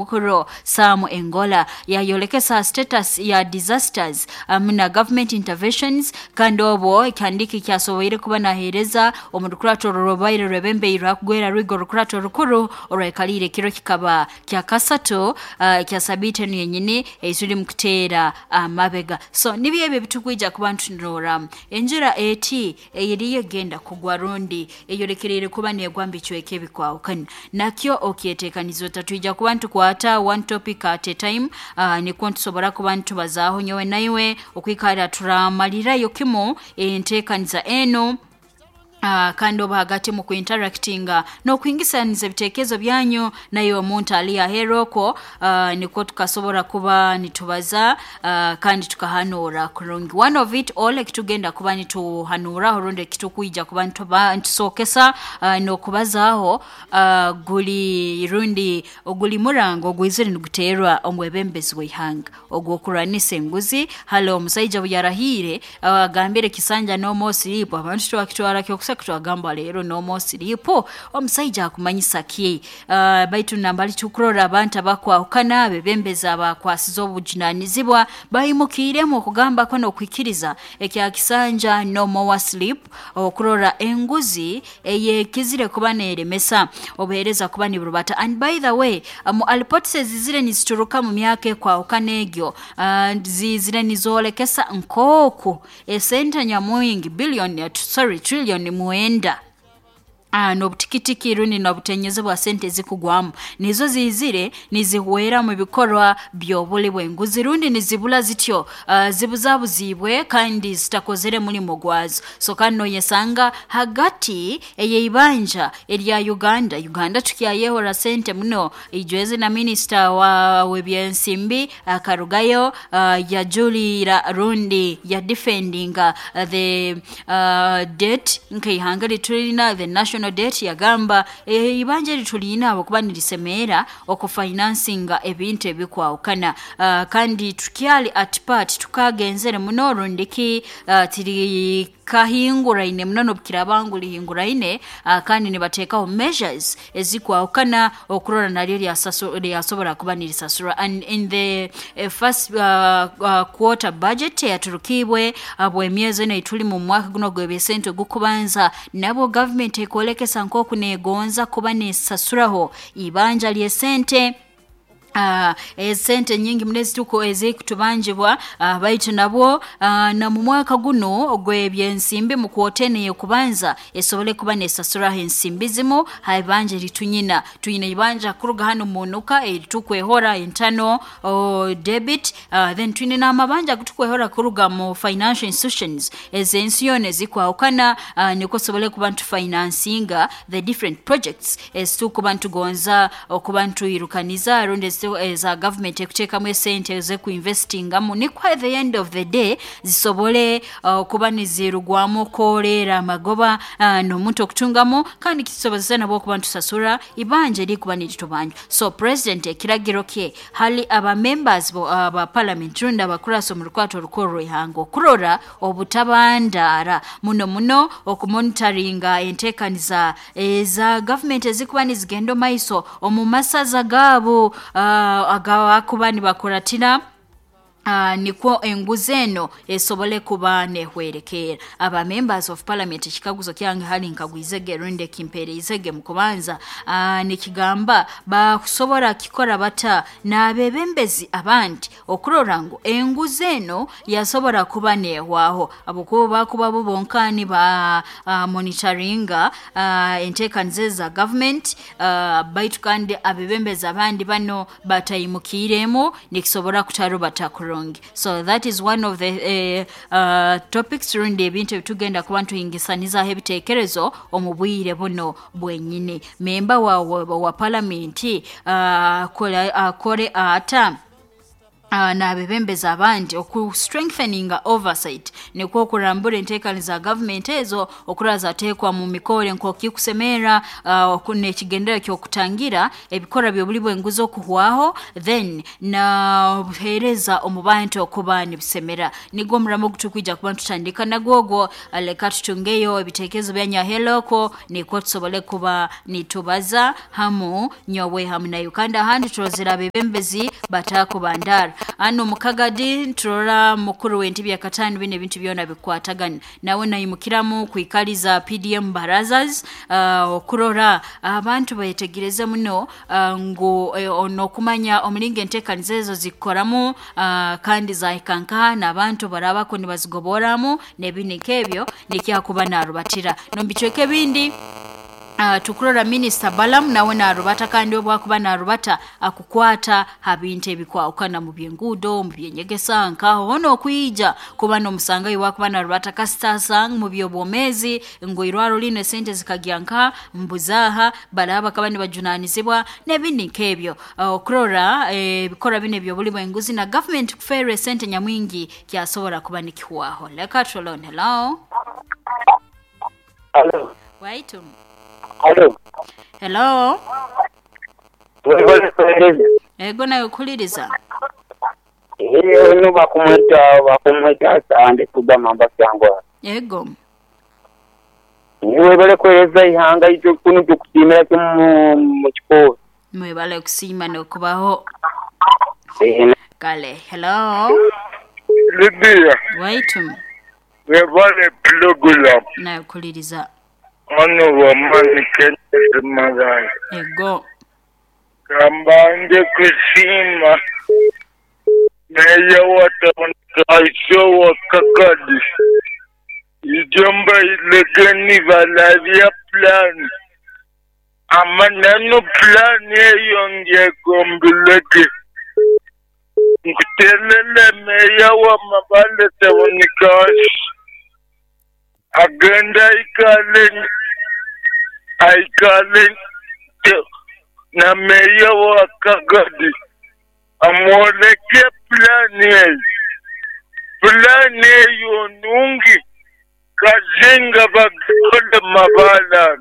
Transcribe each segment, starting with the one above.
Mukuro Sam Engola yayolekesa status ya disasters na government interventions. Kandi obwo ekihandiki kyasoboire kuba naheereza omu rukurato orubaire rwebembeirwe hakugwera rwigo orukurato rukuru orwekaliire ekiro kikaba kya kasatu kya sabiiti enu yenyini eituli mukuteera amabega. So nibyo ebyo ebitukwija kuba ntunoramu enjura eti eyeriyo egenda kugwa rundi eyolekereire kuba negwa mu bicweka ebikwahukana, nakyo okyetekaniza. Otatwija kuba ntukwata one topic at a time, nikwo ntusobora kuba ntubazaaho nyowe naiwe okwikara turamalirayo kimu enteekaniza enu. Kandi oba hagati mu kuinteractinga n'okuhingisaniza ebitekerezo byanyu naye omuntu ali aheeru okwo, nikwo tukasobora kuba nitubaza kandi tukahanuura kurungi. One of it all ekitugenda kuba nituhanuuraho rundi ekitukwija kuba nitusookesa n'okubazaaho, guli rundi oguli murango ogwizire niguteerwa omwebembezi w'ihanga ogw'okurwanisa enguzi. Hali omusaija obu yarahiire, agambire kisanja no more sleep, abantu twakitwara kyokuseka, twagamba leero no more sleep omusaija akumanyisa ki? Baitu nambali tukurora abantu abakwahukana, abebembezi abakwasize obujunanizibwa baimukiiremu okugambako n'okwikiriza ekya kisanja no more sleep, okurora enguzi eyekizire kuba neeremesa obuheereza kuba niburubata. And by the way, mu reports ezizire nizituruka mu myaka ekwahukana egyo, zizire nizoolekesa nk'oku esente nyamwingi billion, sorry, trillion 9 n'obutikitiki rundi n'obutenyeze bwa sente ezikugwamu nizo zizire nizihwera mu bikorwa by'obuli bw'enguzi rundi nizibura zityo, zibuzabuziibwe kandi zitakozere mulimo gwazo. So kandi noyesanga hagati ey'eibanja erya Uganda, Uganda tukyayehora sente muno. Ijwezi na minisita wa w'ebyensimbi akarugayo, yajulira rundi yadefendinga the debt nk'ihanga litulina, the national debt, yagamba ibanja eritulina habwokuba nirisemeera okufinansinga ebintu ebikwahukana, kandi tukyali at part, tukagenzere muno rundiki tiri kahinguraine muno n'obukiraaba ngu lihinguraine, kandi nibateekaho measures ezikwahukana okurora naryo lyasobora kuba nirisasurwa. And in the first quarter budget eyaturukiibwe habw'emyezi enu eituli mu mwaka guno ogw'ebyesente ogukubanza, nabwo gavumenti ekwolekesa nk'oku neegonza kuba neesasuraho ibanja ly'esente, esente nyingi muno ezituku ezikutubanjibwa, baitu nabwo na mu mwaka guno ogw'ebyensimbi mu kwota enu ey'okubanza esobole kuba neesasuraho ensimbi zimu ha ibanja eritunyina. Twine ibanja kuruga hanu munuka eritukwehora internal debit, then twine n'amabanja agutukwehora kuruga mu financial institutions ez'ensi yoona ezikwahukana, nikwo tusobole kuba nitufinansinga the different projects ezitukuba nitugonza okuba nitwirukaniza rundi eza government ekuteekamu esente ez'ekuinvestingamu, nikwo at the end of the day zisobole okuba nizirugwamu okwoleera amagoba n'omuntu okutungamu, kandi kitusobozesa nabwo okuba nitusasura ibanja erikuba niritubanja. So president ekiragiro kye hali aba members ba parliament rundi abakurasa omu rukwato orukuru rw'ihanga okurora obutabandaara muno muno okumonitoringa enteekaniza eza government ezikuba nizigenda omu maiso omu masaza gaabo agabakuba nibakuratira, nikwo enguzi eno esobole kuba nehwerekeera. Aba members of parliament, ekikaguzo kyange hali nkagwizege rundi ekimpeereizege mu kubanza, nikigamba bakusobora kikora bata n'abebembezi abandi okurora ngu enguzi eno yasobora kuba neehwaho, habwokuba bakuba bo bonka niba monitoringa enteekaniza eza government, baitu kandi abebembezi abandi bano bataimukiiremu, nikisobora kutarubata kurungi. So that is one of the topics rundi ebintu ebitugenda kuba nituhingisanizaho ebiteekerezo omu bwire buno bwenyini. Memba wa parliament akore ata? N'abebembezi abandi oku strengthening oversight nikwo okurambura enteekaniza za government ezo okurora zateekwa mu mikore nk'okikusemera, n'ekigendererwa ky'okutangira ebikorwa by'obuli bw'enguzi okuhwaho, then na obuheereza omu bantu okuba nibusemera. Nigwo omuramo ogutukwija kuba nitutandika nagwo ogwo. Leka tutungeyo ebiteekerezo byanyu aheeroko nikwo tusobole kuba nitubaza hamu nyowe hamu nayo. Kandi ahandi turozere abebembezi batakubandara hano mukagadi, nturora mukuru w'entebe ya kataano. Bino ebintu byona bikwatagana nawe naimukiramu kwikaliza PDM barazas, okurora abantu bayetegereze muno, ngu n'okumanya omulingo enteekaniza ezo zikukoramu, kandi zahika nkaha n'abantu barabako nibazigoboramu n'ebindi nk'ebyo, nikyakuba narubatira n'omu bicweka ebindi. Tukurora Minisita Balamu nawe narubata, kandi obu akuba narubata akukwata ha bintu ebikwahukana mu by'enguudo, mu by'enyegesa, nkaho hoona okwija kuba n'omusangayo wakuba narubata kasita mu by'obwomeezi ngu irwaro linu esente zikagya nka mbuzaaha baraba bakaba nibajunaanizibwa n'ebindi nk'ebyo, okurora ebikorwa binu eby'obuli bw'enguzi na government kufeerwa esente nyamwingi kyasobora kuba nikihwaho. Leka turole. Hello. Hello. Waitu. Hello. Hello. Webale kuweereza. Ego, nawe kuhuliriza. Ono bakumwita Sande kugamba Mbasangwa. Ego. Webale kuweereza ihanga itwe kunu tukusiimira kimu mu kikoro. Mwebale kusiima n'okubaho. Kale, hello. Lydia, Waitu. Webale pulogulamu. Nawe kuhuliriza. Ono wamani Kenneth Magaya. Ego. Kambanje kusiima meya wa tawuni wa Kakadi. Ijomba ilegeni valavya plan. Amanano plan eyo ngegombuleke. Nkutelele meya wa Mabale tawuni kashi. Agenda aikale na meya wa Kagadi amwoleke plani eyo. Plani eyo nungi kazinga bagole mabala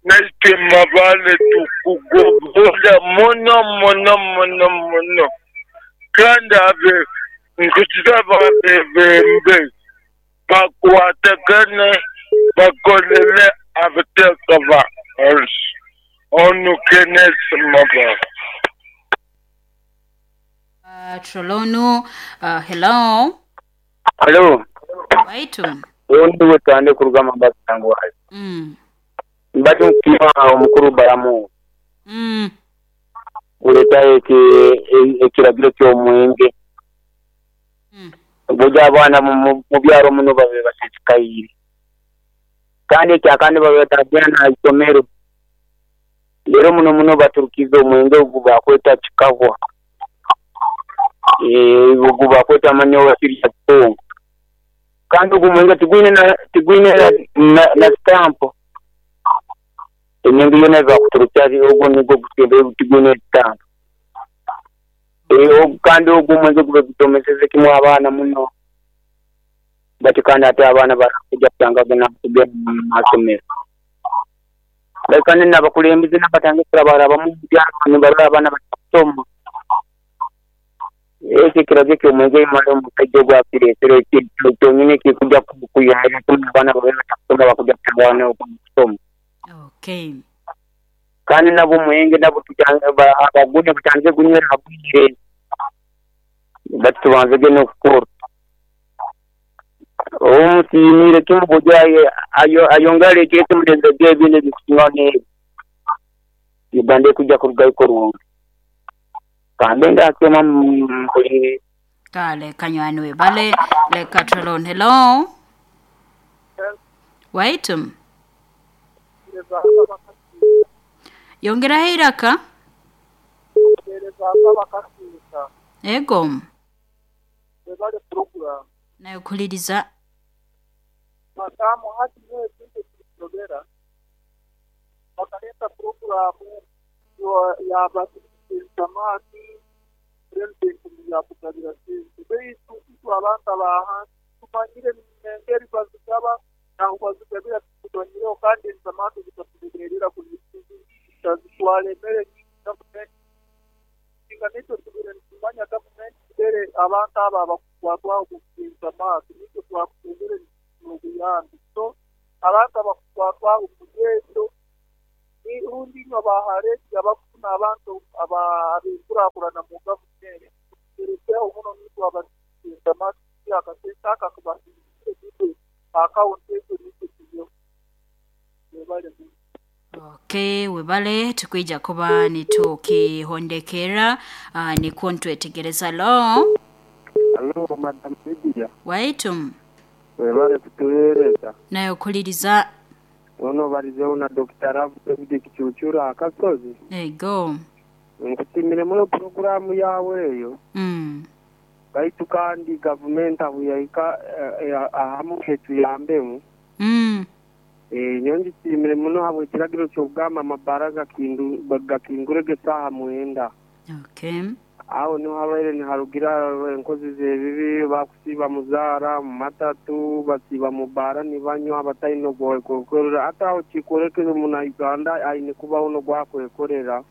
naite Mabale tukugobola muno muno muno muno, kandi abe nkusaba abebembe bakwatagane bakolele abateka ba onu Kenneth Mabala. Trolonu, hello. Hello. Waitu. Ondi wetande kurugamba Mbasangwa. Mbati nkusiima omukuru Balamu. Kuleta ekiragiro ky'omwenge. Buja abaana mu byaro muno babe basisikaire. Kandi ekyakandi babe batagenda na isomero. Rero muno muno baturukiza omwenge ogu bakweta kikahwa. Ogu bakweta manyowa sirya kitongo. Kandi ogu mwenge tigwine na stamp. Emyenge yona ebakuturukya ogwo nigwo gusembe tigwine stamp. Kandi ogwo mwenge gube gutomeseze kimwe abaana muno. Bati kandi ate abaana barakujja kutanga na kugenda mu masomero. Kandi n'abakulembeze n'abatandikira barabamu byaro nibarora abaana batasoma. Ekyo ekiragiro ky'omwenge imara omusajja ogwo akireetere kyonyini kikujja kuyamba abaana babe batasoma bakujja kutanga okusoma. Okay. Kandi nabo omwenge nabo abagune butandike kunywera habwire. Bati tubanzege n'okukora. Omusiimire kimu buja ayongere ekyete mulenzi ebindi ebikusingaho n'ebyo. Uganda ekujja kurugayo kurungi. Kambe ndakyoma mpulire. Kale kanywani webale. Leka Trolon, hello. Waitu. Yongeraho eiraka. Ego. Nawe kuhuliriza. Madamu hati niwe kintu kisobera bakaleta programu ya samaki. Pulezidenti yakugabira sente, baitu itwe abantu abahansi tumanyire n'engeri bazigaba, naho bazigabira tukumanyireho, kandi ensamato zikatuberera zitwara emere nyingi gavumenti singa nitwe tubire nitumanya gavumenti tubere abantu abo abakukwatwaho ensamato nitwe twakutungire n'obuyambi. So abantu abakukwatwaho mugeezo rundi inywe abahareti abakufuna abantu ab'enkurakurana mu gavumenti turekeho muno nitwe abasamato akasente aka akabahindukire akawunti ezo nitwe tuyeho webale muno. Okay, webale tukwija kuba nitukihondekera nikwo ntwetegereza lo Alo, Madam Lydia, waitu webale kutuweereza. nayo kuliriza Ono balizeho na Dr. Ravu David Kichuchura akasozi. ego Nkusimire muno puroguramu yawe eyo. Baitu kandi gavumenti ahu yahika ahamu hetuyambemu. Nyo ngisimire muno habwe ekiragiro ky'okugamba amabara gakingurege saaha 9. Okay. Aho niho habaire niharugira enkozi z'ebibi bakusiiba muzaara mu matatu basiiba mu baara nibanywa abataine ogwakwekorera ate aho kikorekere muna Uganda aine kubaho n'ogwakwekorera.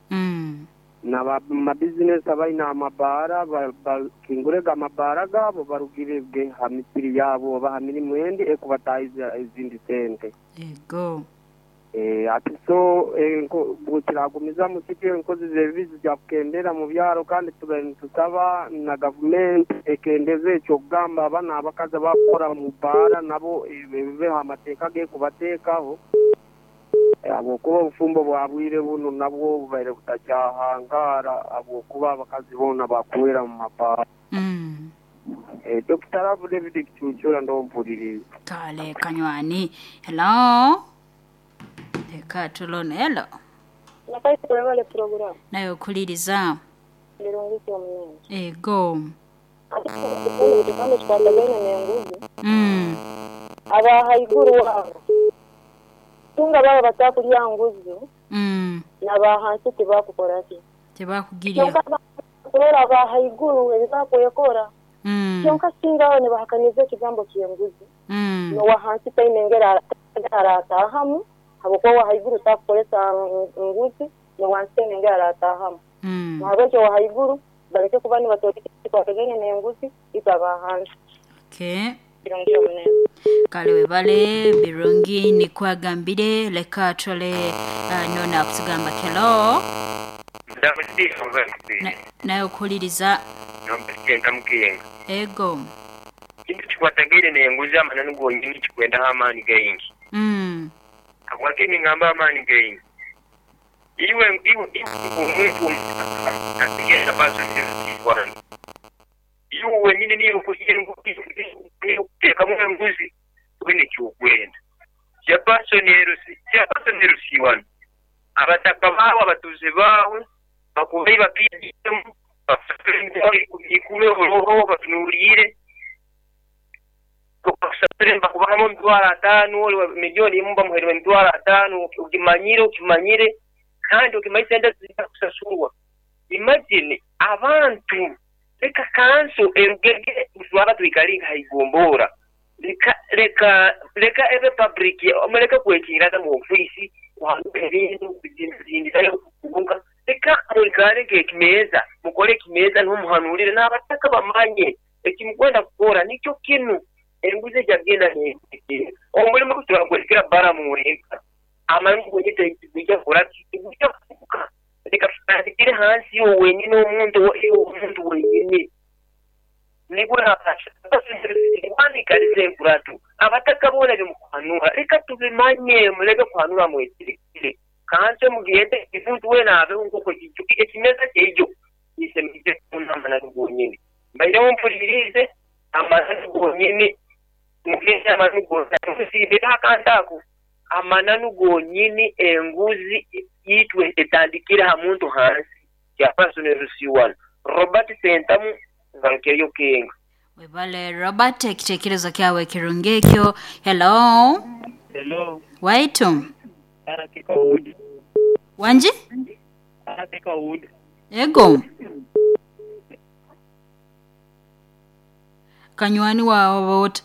Na mabizinesi abaine amabaara bakingurege amabaara gaabo barugirege ha misiri yaabo oba ha mirimu endi ekubataahiza ezindi sente. Ego. Ati so bwekiragumiza mukityo enkozi z'ebibi zijja kukendera mu byaro kandi tube nitusaba na gavumenti ekendeze ekyokugamba abana abakazi abakukora mu baara nabo bibeho amateeka gekubateekaho habwokuba obufumbo bwa bwire buno nabwo bubaire butakyahangara habwokuba abakazi boona bakuwera mu mabaara. Dr. Ravu David Kichuchura ndompuliriza. Kale kanywani. Hello. Eka tulone hello. Nakaisi webale program. Nayo kuliriza. Birungiki omunene. Ego. Ati kikwatagaine n'enguzi. Aba haiguru wabo. Tunga baba batakulya nguzi. N'abahansi tibakukora ki. Tibakugirya. Kurora aba haiguru ebibakwekora. Kyonka singa aho nibahakaniza ekigambo ky'enguzi. N'owahansi taine engeri aratahamu. Habwokuba owahaiguru takukoresa nguzi n'owansi taine engeri aratahamu. Nahabwekyo owahaiguru baleke kuba nibatoleka ekikwatagaine n'enguzi itwe abahansi. Okay. Birungi omunene. Kale webale birungi nikwagambire leka tole nona kutugamba kelo. Nayo kuliriza. Ego. Kintu kikwatagaine n'enguzi amananu gonyini kikwendaho amaani gaingi. Habwaki ningamba amaani gaingi? Iwe omuntu asigenda baso nzirwana. Iwe wenyini niyo kuteekamu enguzi wene kyokwenda. Chairperson erusiwano. Abataka baawe abatuuze baawe bakubai bapiidemu ikume oburoho batunuulire bakubahamu 500,000 milioni emu bamuherwe 500,000 ukimanyire kandi ukimanyire sente zijja kusasurwa. Imagine abantu leka kanso erugege twaba twikalinga haigombora leka ebe public omuleka kwekiraza mu ofisi kuhanduka ebintu kuzindizayo kubunga leka mulikale ekimeza mukole ekimeza n'omuhanulire n'abataka bamanye ekimukwenda kukora nikyo kinu enguzi ejagenda n'ekire omulimu gutwagwekera bara mu wenka amangu gwenyite kujja kukora kujja kuka leka tutandikire hansi wenyine omuntu wenyine nigura nkuratu abataka boona bimukuhanura leka tubimanye muleke kuhanura mweterekire kanse mugende emuntu wena abeho nk'uko ekimeza kyeijo isemize amananu gonyine mbaireho mpulirize amananu gonyine mugende amananu gonyine akantu ako amananu gonyine enguzi itwe etandikire ha muntu hansi Chairperson Rusiwano Robert Sentamu ngarukeyo kenga. Webale Robert ekitekerezo kyawe kirungi ekyo. Hello. Hello. Waitu. Wanji? Wood. Ego. Kanywani wawe ota.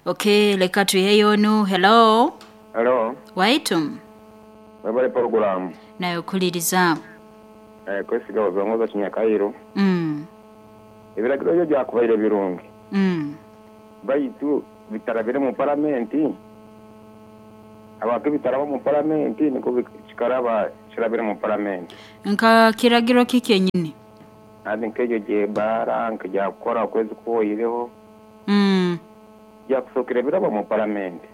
Okay, leka tuiheyo onu. Hello. Hello, Waitu. webale programu. Nayo kuliriza. Kwesiga ozongoza Kinyakairo. Ebiragiro byo byakubaire birungi. Baitu bitarabire mu paramenti. Abantu bitaraba mu paramenti niko kikaraba kirabire mu paramenti. Nka kiragiro kikenyini. Andi nkejo je bara nkija kukora okwezi kuwoireho. Byakusokera biraba mu paramenti.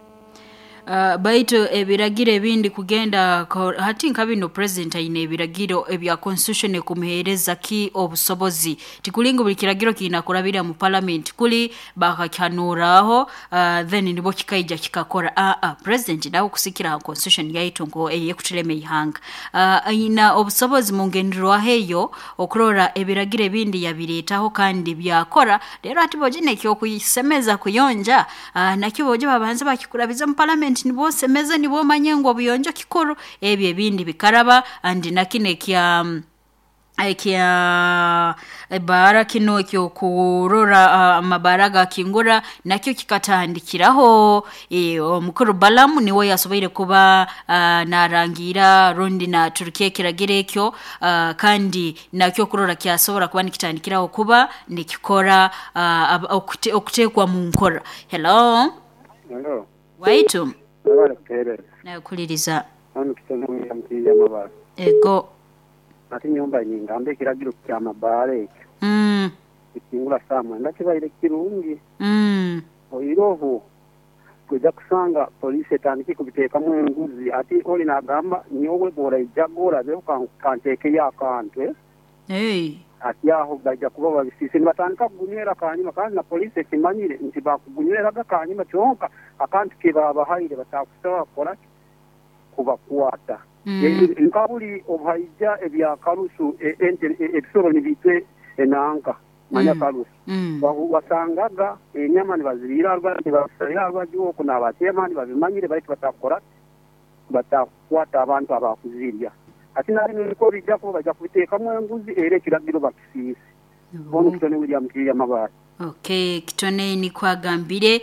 Baitu ebiragiro ebindi kugenda hati nka bino president aine ebiragiro ebya constitution kumuhereza ki obusobozi tikulinga buli kiragiro kinakurabira mu parliament kuli bakakyanuraho then nibo kikaija kikakora. President nawe kusikira constitution yaitu ngo eyekutureme ihanga aina obusobozi mu ngenderwaho eyo okurora ebiragiro ebindi yabiretaho kandi byakora. Rero ati bojine kyo kuyisemeza kuyonja nakyo boje babanza bakikurabiza mu parliament nibo semeza nibo manyengo buyonjo kikuru ebyo ebindi bikaraba. Andi nakine kya kya bara kino kyo kurora amabaraga kingura nakyo kikatandikiraho. Omukuru Balamu niwe yasoboire kuba narangira rundi na Turkiye kiragire ekyo kandi nakyo kurora kyasobora kuba nikitandikiraho kuba nikikora okutekwa mu nkora. Hello. Hello. Waitu. Nakuliriza. Ego. Ati nyumba nyinga mbe kiragiro kya mabare ekyo. Ikingura saa mwenda kibaire kirungi. Oiroho kuja kusanga polisi etandike kubiteekamu enguzi ati oli nagamba nyowe bora ijagora byo kanteeke yakantwe. Hey. Ati aho bajja kuba babisise nibatandika kugunywera kanyuma kandi na polisi ekimanyire nti bakugunyweraga kanyuma kyonka akantu ke babahaire batakusaba kukora kubakwata. Nkabuli obuhaija ebyakarusu ebisoro nibitwe enanka manya karusu. Wasangaga enyama nibazirira rwajoko n'abatema nibabimanyire baitu batakora batakwata abantu abakuzirya. Ati nari niko bijja kuba bajja kubiteekamu enguzi era ekiragiro bakisiise. Bono kitone William Kiriya Mabare. Okay, kitone ni kwagambire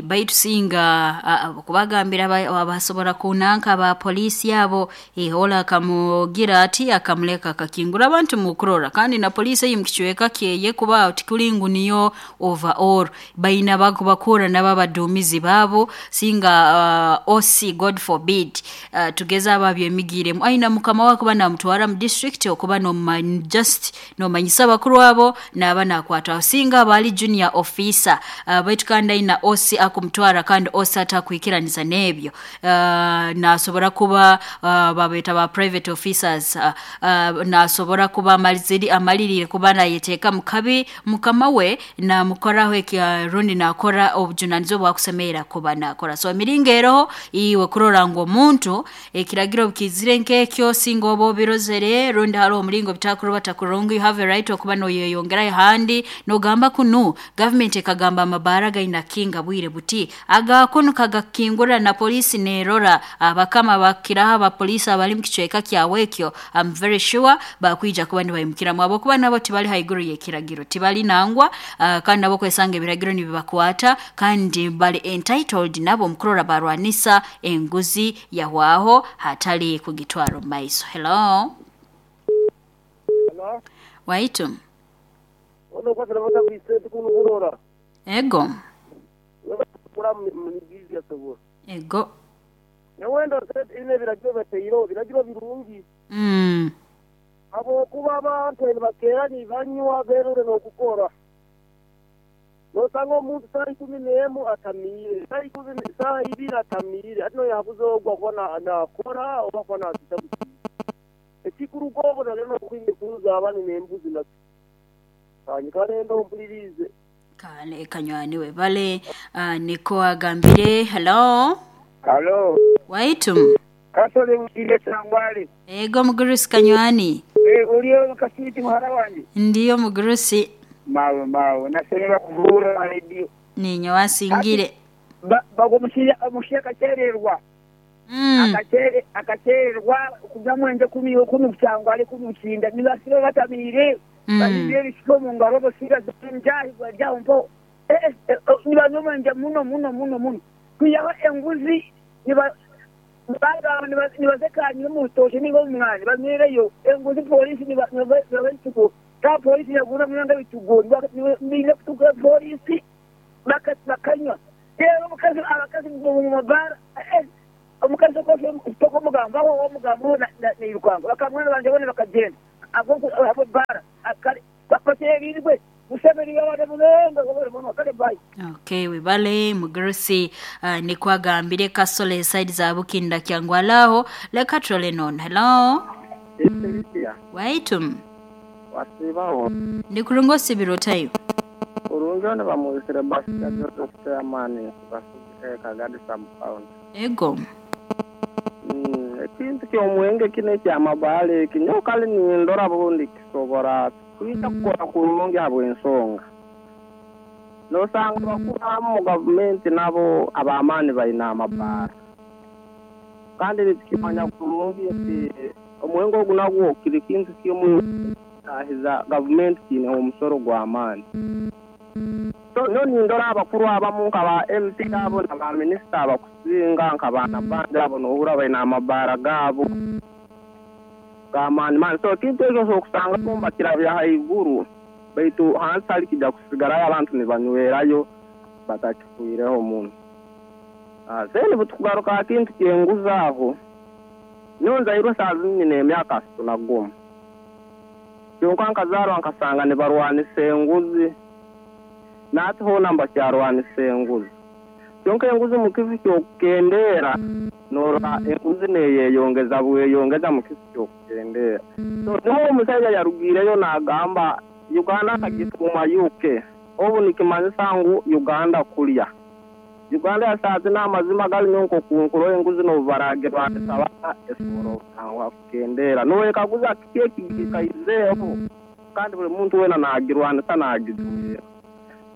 baitu singa kubagambira abasobora kunanka ba polisi yabo hola akamugira ati akamuleka akakingura abantu mukurora kandi na polisi yimkichweka kyeye kuba tikulingu niyo overall baina bakubakura n'ababadumizi babo singa OC God forbid tugeza ababyemigire aina mukama wako bana mutwara mu district okuba no just no manyisa bakuru abo n'abana kwata singa bali junior officer baitu kandi aina OC akumtwara kandi OC atakwikiraniza nebyo nasobora kuba babeta ba private officers nasobora kuba amalirire kuba nayeteka mukabi mukama we na mukoraho rundi nakora obujunanizo bwakusemera kuba nakora. So emiringo iwe kurora ngo omuntu ekiragiro bukizire nkekyo singa obo birozere rundi haro omuringo bitakuruba takurungu you have a right okuba noyeyongera handi nogamba kunu government ekagamba amabara gaina kinga bwire buti aga kunu kagakingura na polisi nerora abakama bakiraha abapolisi abali mu kichweka kyawekyo I'm very sure bakwija kuba nibayimukira mwabo kuba nabo tibali haiguru yekiragiro tibali nangwa kandi nabo kwesanga ebiragiro nibibakwata kandi bali entitled nabo mukurora barwanisa enguzi yahwaho hatali kugitwaro maiso. Hello. Hello. Waitu. Ono kwa sababu bisete kuno. Ego. Ego. Nyawendo ine biragiro bateiro biragiro birungi. Abo kuba abantu bakera ni banywa berure no kukora. Nosanga omuntu saa 11 atamire, saa 10 saa 2 atamire, atino yabuzogwa kona nakora oba kona azitabu. Ekikurugobo naleno kwimikuza abani nembuzi na Kanyarendo mpulirize. Kale kanywani we bale niko agambire. Hello. Hello. Waitu. Kasole mkile sangwali. Ego mugurusi kanywani. Uliyo kasiti muhara wanje. Ndiyo mugurusi. Mawe nasemera kuvura radio. Ninyo wasingire. Bago mushia kachererwa. Akachererwa kuja mwende 10 kusangwali 10 kushinda nibasiro batamire. Baine ebishuba omu ngaro basigaza enjaahi bari aho mpaho. Nibanywa omwengye muno muno muno muno. Kwihaho enguzi bagamba nibaza ekanyima omu rutookye nainga omu mwani banywereyo. Enguzi pooriisi nibaha ebitugo. Ka pooriisi neguza munonga ebitugo. Baine kutuga pooriisi bakanywa. Reero omukazi abakazi omu mabaara omukazi tokomugambaho wamugambaho nairukanga. Bakamwana bangye boona bakagyenda ahabw'ebaara. Kare bashemereirwe Museveni yabade munonga webale muno kale bye. Okay webale mugurusi nikwo agambire Kasole side za Bukinda Kyangwali aho leka turole nono hello Waitu. Wasiibaho? Ndi kurungi osibire ota iwe? Kurungi onu bamwesire Basita Joseph Chairman Basigi Kagadi Sub County. Ego. Ekintu ky'omwenge kinu eky'amabaale eki nyowe kale nindora bundi kisobora kwija kukora kurungi habw'ensonga nosanga abakuru abamu mu gavumenti nabo ab'amaani baine amabaara kandi nitukimanya kurungi nti omwenge ogu nagwo kiri kintu kimu ekitaahiza gavumenti kiineho omusoro gw'amaani. So nyowe nindora abakuru abamu nka ba MP abo na ba minisita abakusinga nka ba Nabbanja abo nohurra baine amabaara gaabo g'amaani maani. So ekintu eki osobora kusanga bo nibakirabya haiguru baitu hansi hali kija kusigarayo abantu nibanywerayo batakifwireho muno. Then obutukugaruka ha kintu ky'enguzi aho, nyowe nzairwe saaha zinu nyine emyaka asatu na gumu. Kyonka nkazaarwa nkasanga nibarwanisa enguzi, na hati hoona nibakyarwanisa enguzi. Kyonka enguzi mu kifo ky'okukendeera, norora enguzi neyeyongeza bweyongeza mu kifo ky'okukendeera. So niho omusaija yarugiireyo nagamba Uganda akagituuma UK, obu nikimanyisa ngu Uganda kulya. Uganda ya saaha zinu amazima gali nyowe nk'oku nkurora enguzi n'obu baragirwanisa bata esobora obutanguha kukendeera. Noyekaguza kiki ekigikaizeeho kandi buli muntu weena nagirwanisa nagijumirra.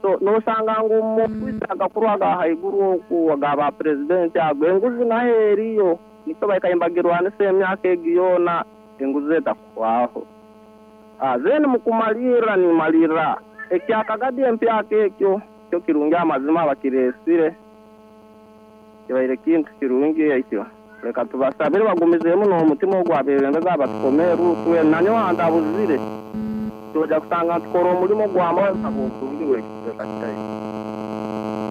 So nosanga ngu omu ofiisi agakuru aga haiguru oku aga ba purezidenti ago enguzi naho eriyo nikyo baikaire nibagirwanisa emyaka egi yoona enguzi etakuhwaho. Then mukumalirra nimalirra ekya Kagadi empyaka ekyo kyo kirungi amazima bakireesire kibaire kintu kirungi ekyo. Leka tubasabire bagumizeemu n'omutima ogu abebembezi abatukomere Ruth we nanyowe antabuzire twoja kusanga nitukora omulimo gw'amaani habw'oburungi bw'ekicweka kyaitu.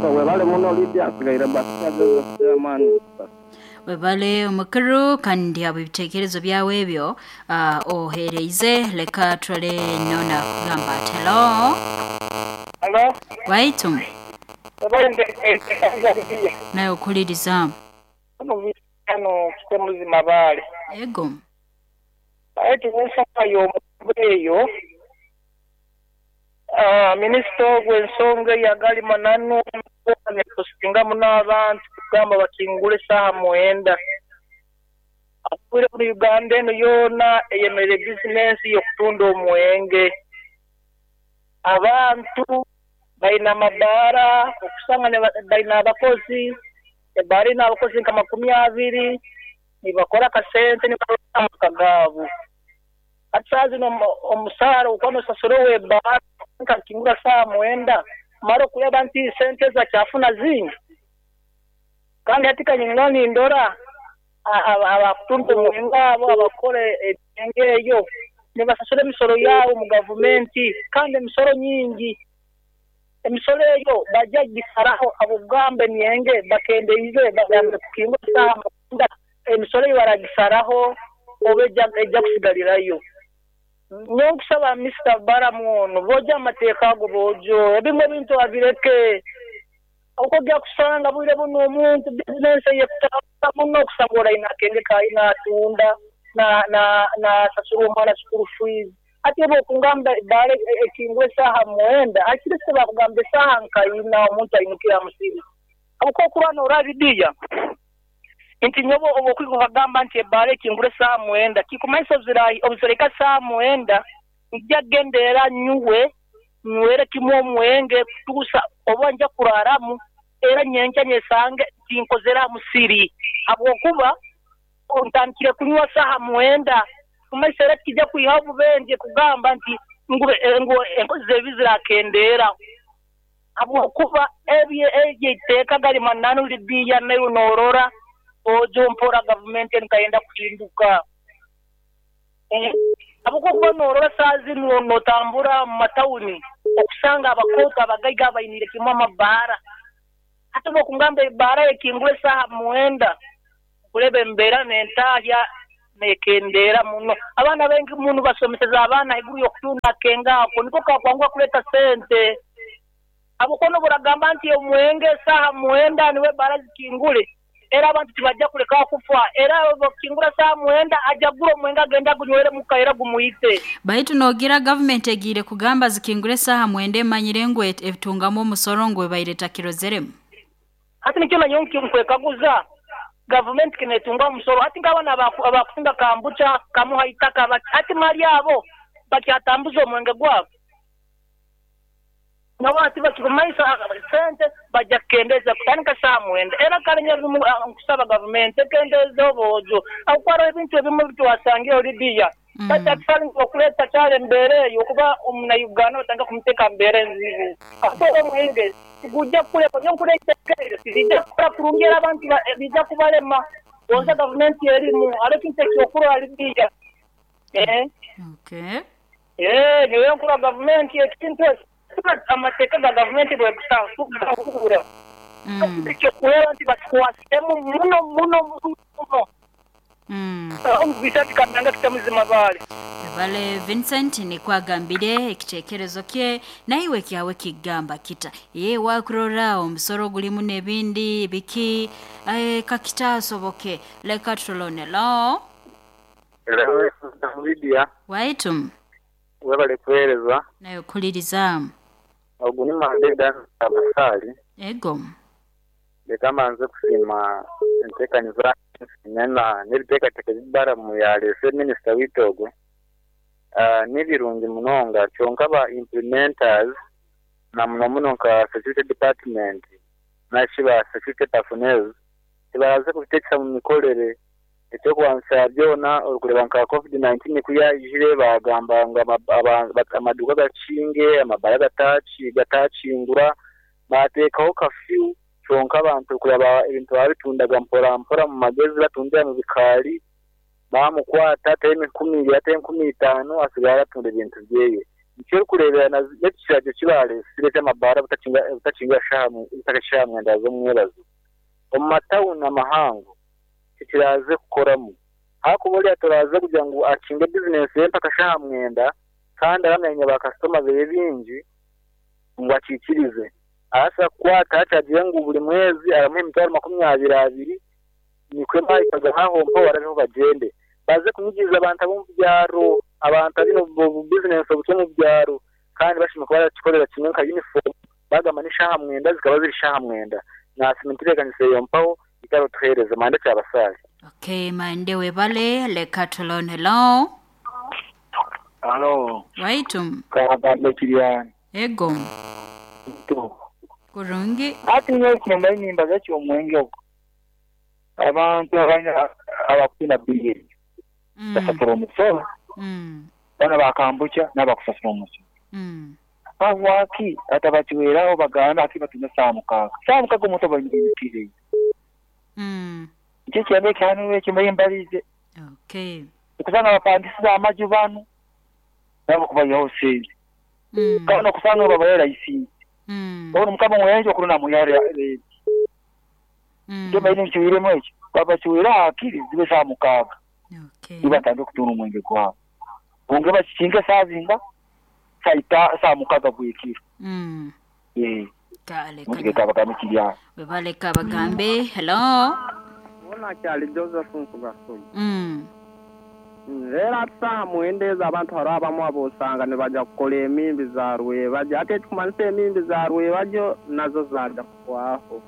So webale muno Lydia nsigaire Basita Joseph Chairman Basita. Webale omukuru kandi habw'ebitekerezo byawe ebyo ohereize leka turole nona akugamba ati hello. Hello. Waitu. Webale ntekereza Lydia. Nawe okuhuliriza. Hano hano Kitemuzi Mabaale. Ego. Baitu ensonga y'omugogo eyo, minisita ogwo ensonga eyo agali mananu nekosinga muno abantu kugamba bakingule esaaha mwenda. Obwire bunu Uganda enu yoona eyemereire bizinensi y'okutunda omwenge. Abantu baine amabaara okusanga baine abakozi, ebaara eine abakozi nka makumi abiri, nibakora akasente nibarora amaka gaabo. Hati saaha zinu omusaara okuba nosasura ow'ebaara akingura saaha mwenda, mara okureba nti sente ezi akyafuna zingi? Kandi hati kanyine nindora abakutunda omwenge abo abakukora emyenge eyo nibasasura emisoro yaabo omu gavumenti kandi emisoro nyingi. Emisoro eyo bajja kugisaraho habw'okugamba emyenge bakendeize bagambire kukingura saaha mwenda, emisoro eyo baragisaraho oba ejja kusigalirayo. Nyowe nkusaba Minisita Balaam onu boojo amateeka ago boojo ebimu ebintu abireke. Okujja kusanga bwire bunu omuntu bizinensi eyekutambura muno okusanga ori aine akenge ke naatunda nasasura omwana school fees. Hati obu okungamba ebaara ekingwa esaaha mwenda hakiri bakugamba esaaha nka ina omuntu ainukire ha musiri. Habwokuba okurora norora Lydia nti nyowe obu okwika okagamba nti ebaara ekingura esaaha mwenda kikumanyisa obuziraika saaha mwenda nja kugendera nyuwe nywere kimu omwenge kutuusa oba nja kuraramu era nyenkya nyesange tinkozere ha musiri habwokuba ntandikire kunywa saaha mwenda kumanyisa era tikijja kwihaho obubenje kugamba nti Ngu enkozi z'ebibi zirakendeera habwokuba ebyo eiteeka gali mananu Libiya naiwe noorora ojo mpora gavumenti enu kayenda kuhinduka. Habwokuba noorora saaha zinu nootambura mu matawuni okusanga abakooto abagaiga bainiire kimu amabaara. Hati obu okungamba ebbaara ekingura esaaha 9 kureba embeera n'entahya neekendeera muno. Abaana baingi muno basomeseza abaana haiguru y'okutunda akenge ako niko kakwanguha kuleeta sente. Habwokuba n'obu oragamba nti omwenge esaaha 9 niwe ebbaara zikingule, era abantu tibajja kulekaho kufa, era obu bakukingura saaha 9 ajja kugura omwenge agende agunywere muka era gumwite. Baitu noogira gavumenti egiire kugamba zikingure esaaha 9 emanyire ngu etungamu omusoro ngu ebaire etakirozeremu. Hati nikyo nanyowe nkwekaguza gavumenti keneetunga omusoro hati nk'abaana abakusinga kambucha kamuha itaka hati mali abo bakyatambuza omwenge gwabo. Nabo hati bakirumaisa sente bajja kukendeeza kutandika saaha 9 era kale nkusaba gavumenti ekendeeze obwojo habwokuba haroho ebintu ebimu ebitwasangire Libiya batakusaali okuleeta kyali embeera eyo okuba omunnauganda batandika kumuteeka mu mbeera enzibu. Habwokuba omwenge tigujja kuleka nyowe nkurora eiteeka eryo tiriija kukora kurungi era abantu liija kubalema gonza gavumenti erimu haroho ekintu ekyokurora Libiya. Okay. Nyowe nkurora gavumenti ekintu eki amateeka ga gavumenti bwekusahura ekyokurora nti bakikwasiremu muno muno muno. Vincent Kamyanga Kitamuzima Mabaale. Webale Vincent nikwo agambire ekiteekerezo kye naiwe kyawe kigamba kita. Ye wakurora omusoro gulimu n'ebindi biki kakitaasoboke leka tulone lo. Lydia. Waitu. Webale kuweereza. Nawe okuliriza. Ogu ni Mande Dan Abasaali. Ego. Leka mbanze kusiima enteekaniza n'ebiteekateeko ebi Balaam yaleese minisita waitu ogwo. Ni birungi munonga kyonka ba implementers na muno muno nka security department nari ba security personnel tibaraze kubiteekesa mu mikorere. Eky'okubanza byona orikureeba nka COVID-19 ku yaijire baagamba ngu amaduuka gakinge, amabaara gatakingura, baateekaho kafyu kyonka abantu kureba ebintu baabitundaga mpora mpora mu magezi batundira mu bikaari, baamukwata ateho 2,000 ateho 5,000 asigara aratunda ebintu byeye. Nikyo orikureebera n'ekiragiro eki baareesire eky'amabaara butakinga shaaha 9 z'omwebazo. Omu matawuni amahango tikiraze kukoramu. Hakuba oriya toraze kugira ngu akinge bizinesi ye mpaka shaaha 9 kandi aramenya bakasitoma beye bingi ngu akikirize. Arasa kukwata acagiye ngu buri mwezi aramuha emitwaro 22 nikwe bahikaga nkaho mpo barabeho bagende. Baze kunyigiriza abantu abo mu byaro, abantu abine bizinesi obuto mu byaro kandi bashima kuba barakikorera kimwe nka uniform bagamba ni shaaha 9 zikaba ziri shaaha 9. Nasima entebeekanisa eyo mpaho ikaro tuheereze Mande Kyabasaali. Okay, Mande webale leka tulone lo. Halo. Waitu. Kagambe Kiriani. Ego. Kurungi. Ati nyowe kumba enyimba z'ekyomwenge ogwo. Abantu abakufuna biyeri. Basasura omusoro. Bana bakambucha n'abakusasura omusoro. Habwaki atabakiweraho bagamba ati batunda saaha 6. Saaha 6 omuntu aba aine. Nikyo ekyambe ekyahanurwa ekyo mbaire mbarize. Okay. Okusanga abapangisize amaju banu nabo kubayihaho sente. Kandi okusanga babahe layisinsi. Obona Mukama omwenje okuruna muyiha renti. Nikyo mbaire nkiwiremu ekyo. Babakiwera hakiri zibe saaha 6. Nibatandika okutunda omwenge gwabo. Bonge bakikinge saaha zinga? Saa 6 bwekiro. Kale. Webale Kabagambe. Hello. Bona kyali Joseph Nkugasoma. Era saaha 9 ezo abantu hariho abamu abosanga nibajya kukora emimbi za rwebagyo ate ekikumanyisa emimbi za rwebagyo nazo zaja kuhwaho.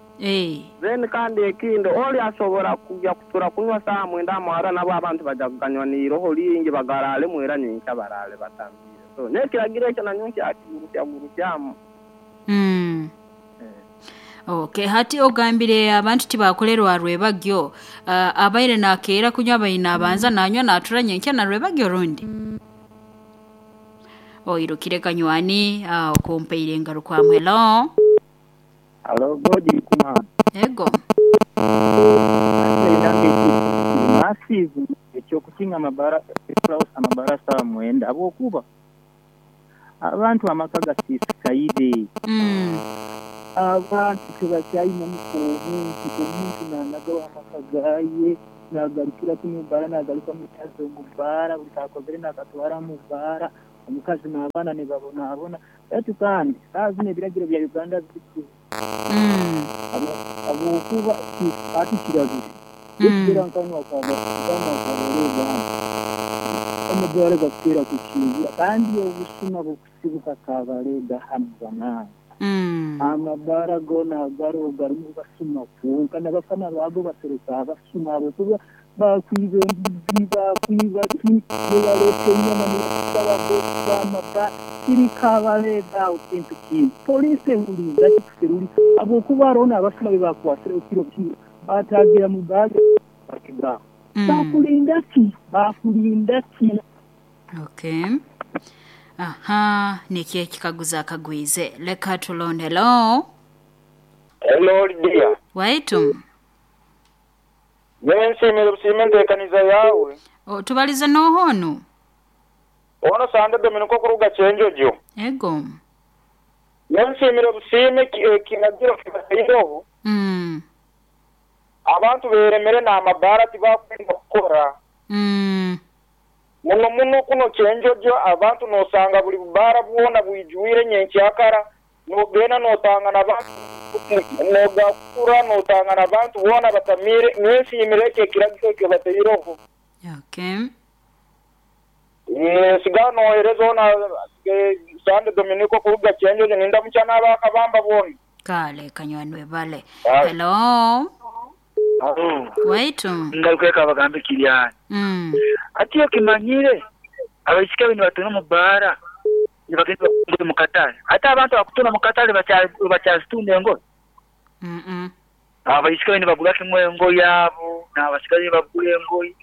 Then kandi ekindi oli asobora kujya kutura kunywa saaha 9 amahara nabo abantu bajya kuganywa n'iroho ringi bagararemu era nyenkya barare batambire. So n'ekiragiro ekyo nanyo nkyakigurukya. Okay, hati ogambire abantu tibakolerwa rwebagyo abaire nakeera kunywa baina abanza nanywa natura nyenkya na rwebagyo rundi. Oirukire kanywani okumpaire engarukwamu. Hello. Halo Godi Kuma. Ego. Massive ekyokukinga amabara amabara sawa mwenda habwokuba abantu amaka gasisikaire. Abantu tebakyayina muko omuntu nanagawo amaka gaye nagarukira kimu bara nagaruka mutazo mu bara buli kakozere nakatwara mu bara omukazi n'abaana nibabonabona. Baitu kandi saaha zino ebiragiro bya Uganda bizibu habwokuba ati kirabire ekitera nkanwa kabalega omugwara gakutera kukingura kandi obusuma bukusibuka kabalega hanu banange. Amabara gona garo garimu basuma kwonka n'abafana bago basereka abasuma habwokuba bakwiba embuzi bakwiba ki nibaleta enyama nibasaba bamabara kiri kabalega aho kintu kintu polisi ehuliza kikuseruli habwokuba hariho n'abasuma bebakwasire ekiro kiro batagira mu baga bakigaho bakulinda ki bakulinda ki. Okay. Aha, nikyo ekikaguzo akagwize. Leka tulonde. Hello. Hello Lydia. Waitu. Nyensimire busime enteekaniza yawe. Tubalize n'ohono. Ono Sande Dominiko kuruga Kyenjojo. Ego. Nyensimire busime ekiragiro kibataireho. Abantu beremere n'amabara tibakwenda kukora. Muno muno kuno Kyenjojo abantu nosanga buli bubara bwona bwijwire nyenkyakara nogenda notanga n'abantu nogakura notanga n'abantu bona batamire. Nyensimire ekiragiro kibataireho. Okay. Siga nohereza ona Sande Dominiko kuruga Kyenjojo ninda mukyana abakabamba bona. Kale kanywanwe bale. Hello. Waitu. Ngaruka bagambe kiryani. Ati okimanyire abaisika bino batuna mu bara nibagenda mu katale. Ate abantu bakutuna mu katale bakyazitunda engoye. Abaisika bino bagula kimwe engoye yabo n'abasigaye bagula engoye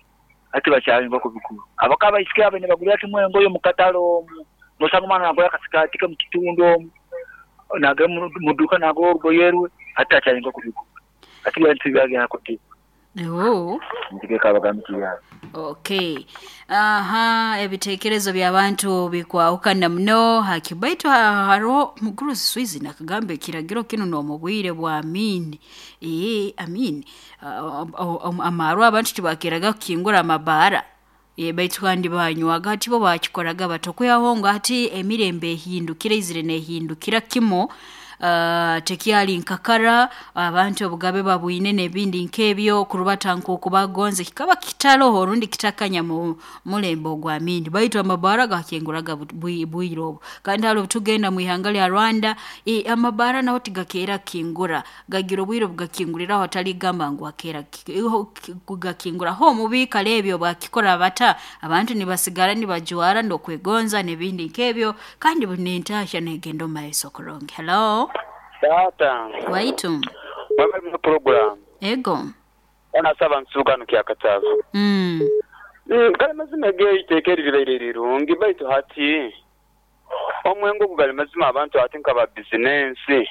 ate bakyayinga kubikuru. Abaka abaisika bino bagula kimwe engoye mu katale omwo. Nosanga omwana nagula akasikati ke mu kitundu omwo nagula mu dduka nagula olugoye rwe ate akyayinga kubikuru. Ati bintu byagenda kuti. Okay. Aha, ebitekerezo by'abantu bikwahukana muno hakibaitu haro mukuru Swizi nakagambe kiragiro kino n'omubwire bwa Amin. Amin. Amarwa abantu tibakiraga kukingura amabara. Baitu kandi banywaga ati bo bakikoraga batokuyahonga ati emirembe ehindukira izire nehindukira kimo. Tekyali nkakara abantu obugabe babwine n'ebindi nk'ebyo kurubata nk'oku bagonze kikaba kitaloho rundi kitakanya mu mulembe ogwa Amin. Baitu amabara gakenguraga bwire obwo. Kandi hali tugenda mu ihanga lya Rwanda amabara naho tigakeera kingura gagira obwire bugakinguriraho atali gamba ngu akeera kugakingura ho mubikale ebyo bakikora bata abantu nibasigara nibajwara ndokwegonza n'ebindi nk'ebyo kandi bunentasha negendo maiso kurongi. Hello. Tata. Waitu. Mwabali mu program. Ego. Ona saba nsukano kya katavu. Kale mazima geiteeka eribaire rirungi baitu hati omwengo gugali mazima abantu ati nkaba bizinensi.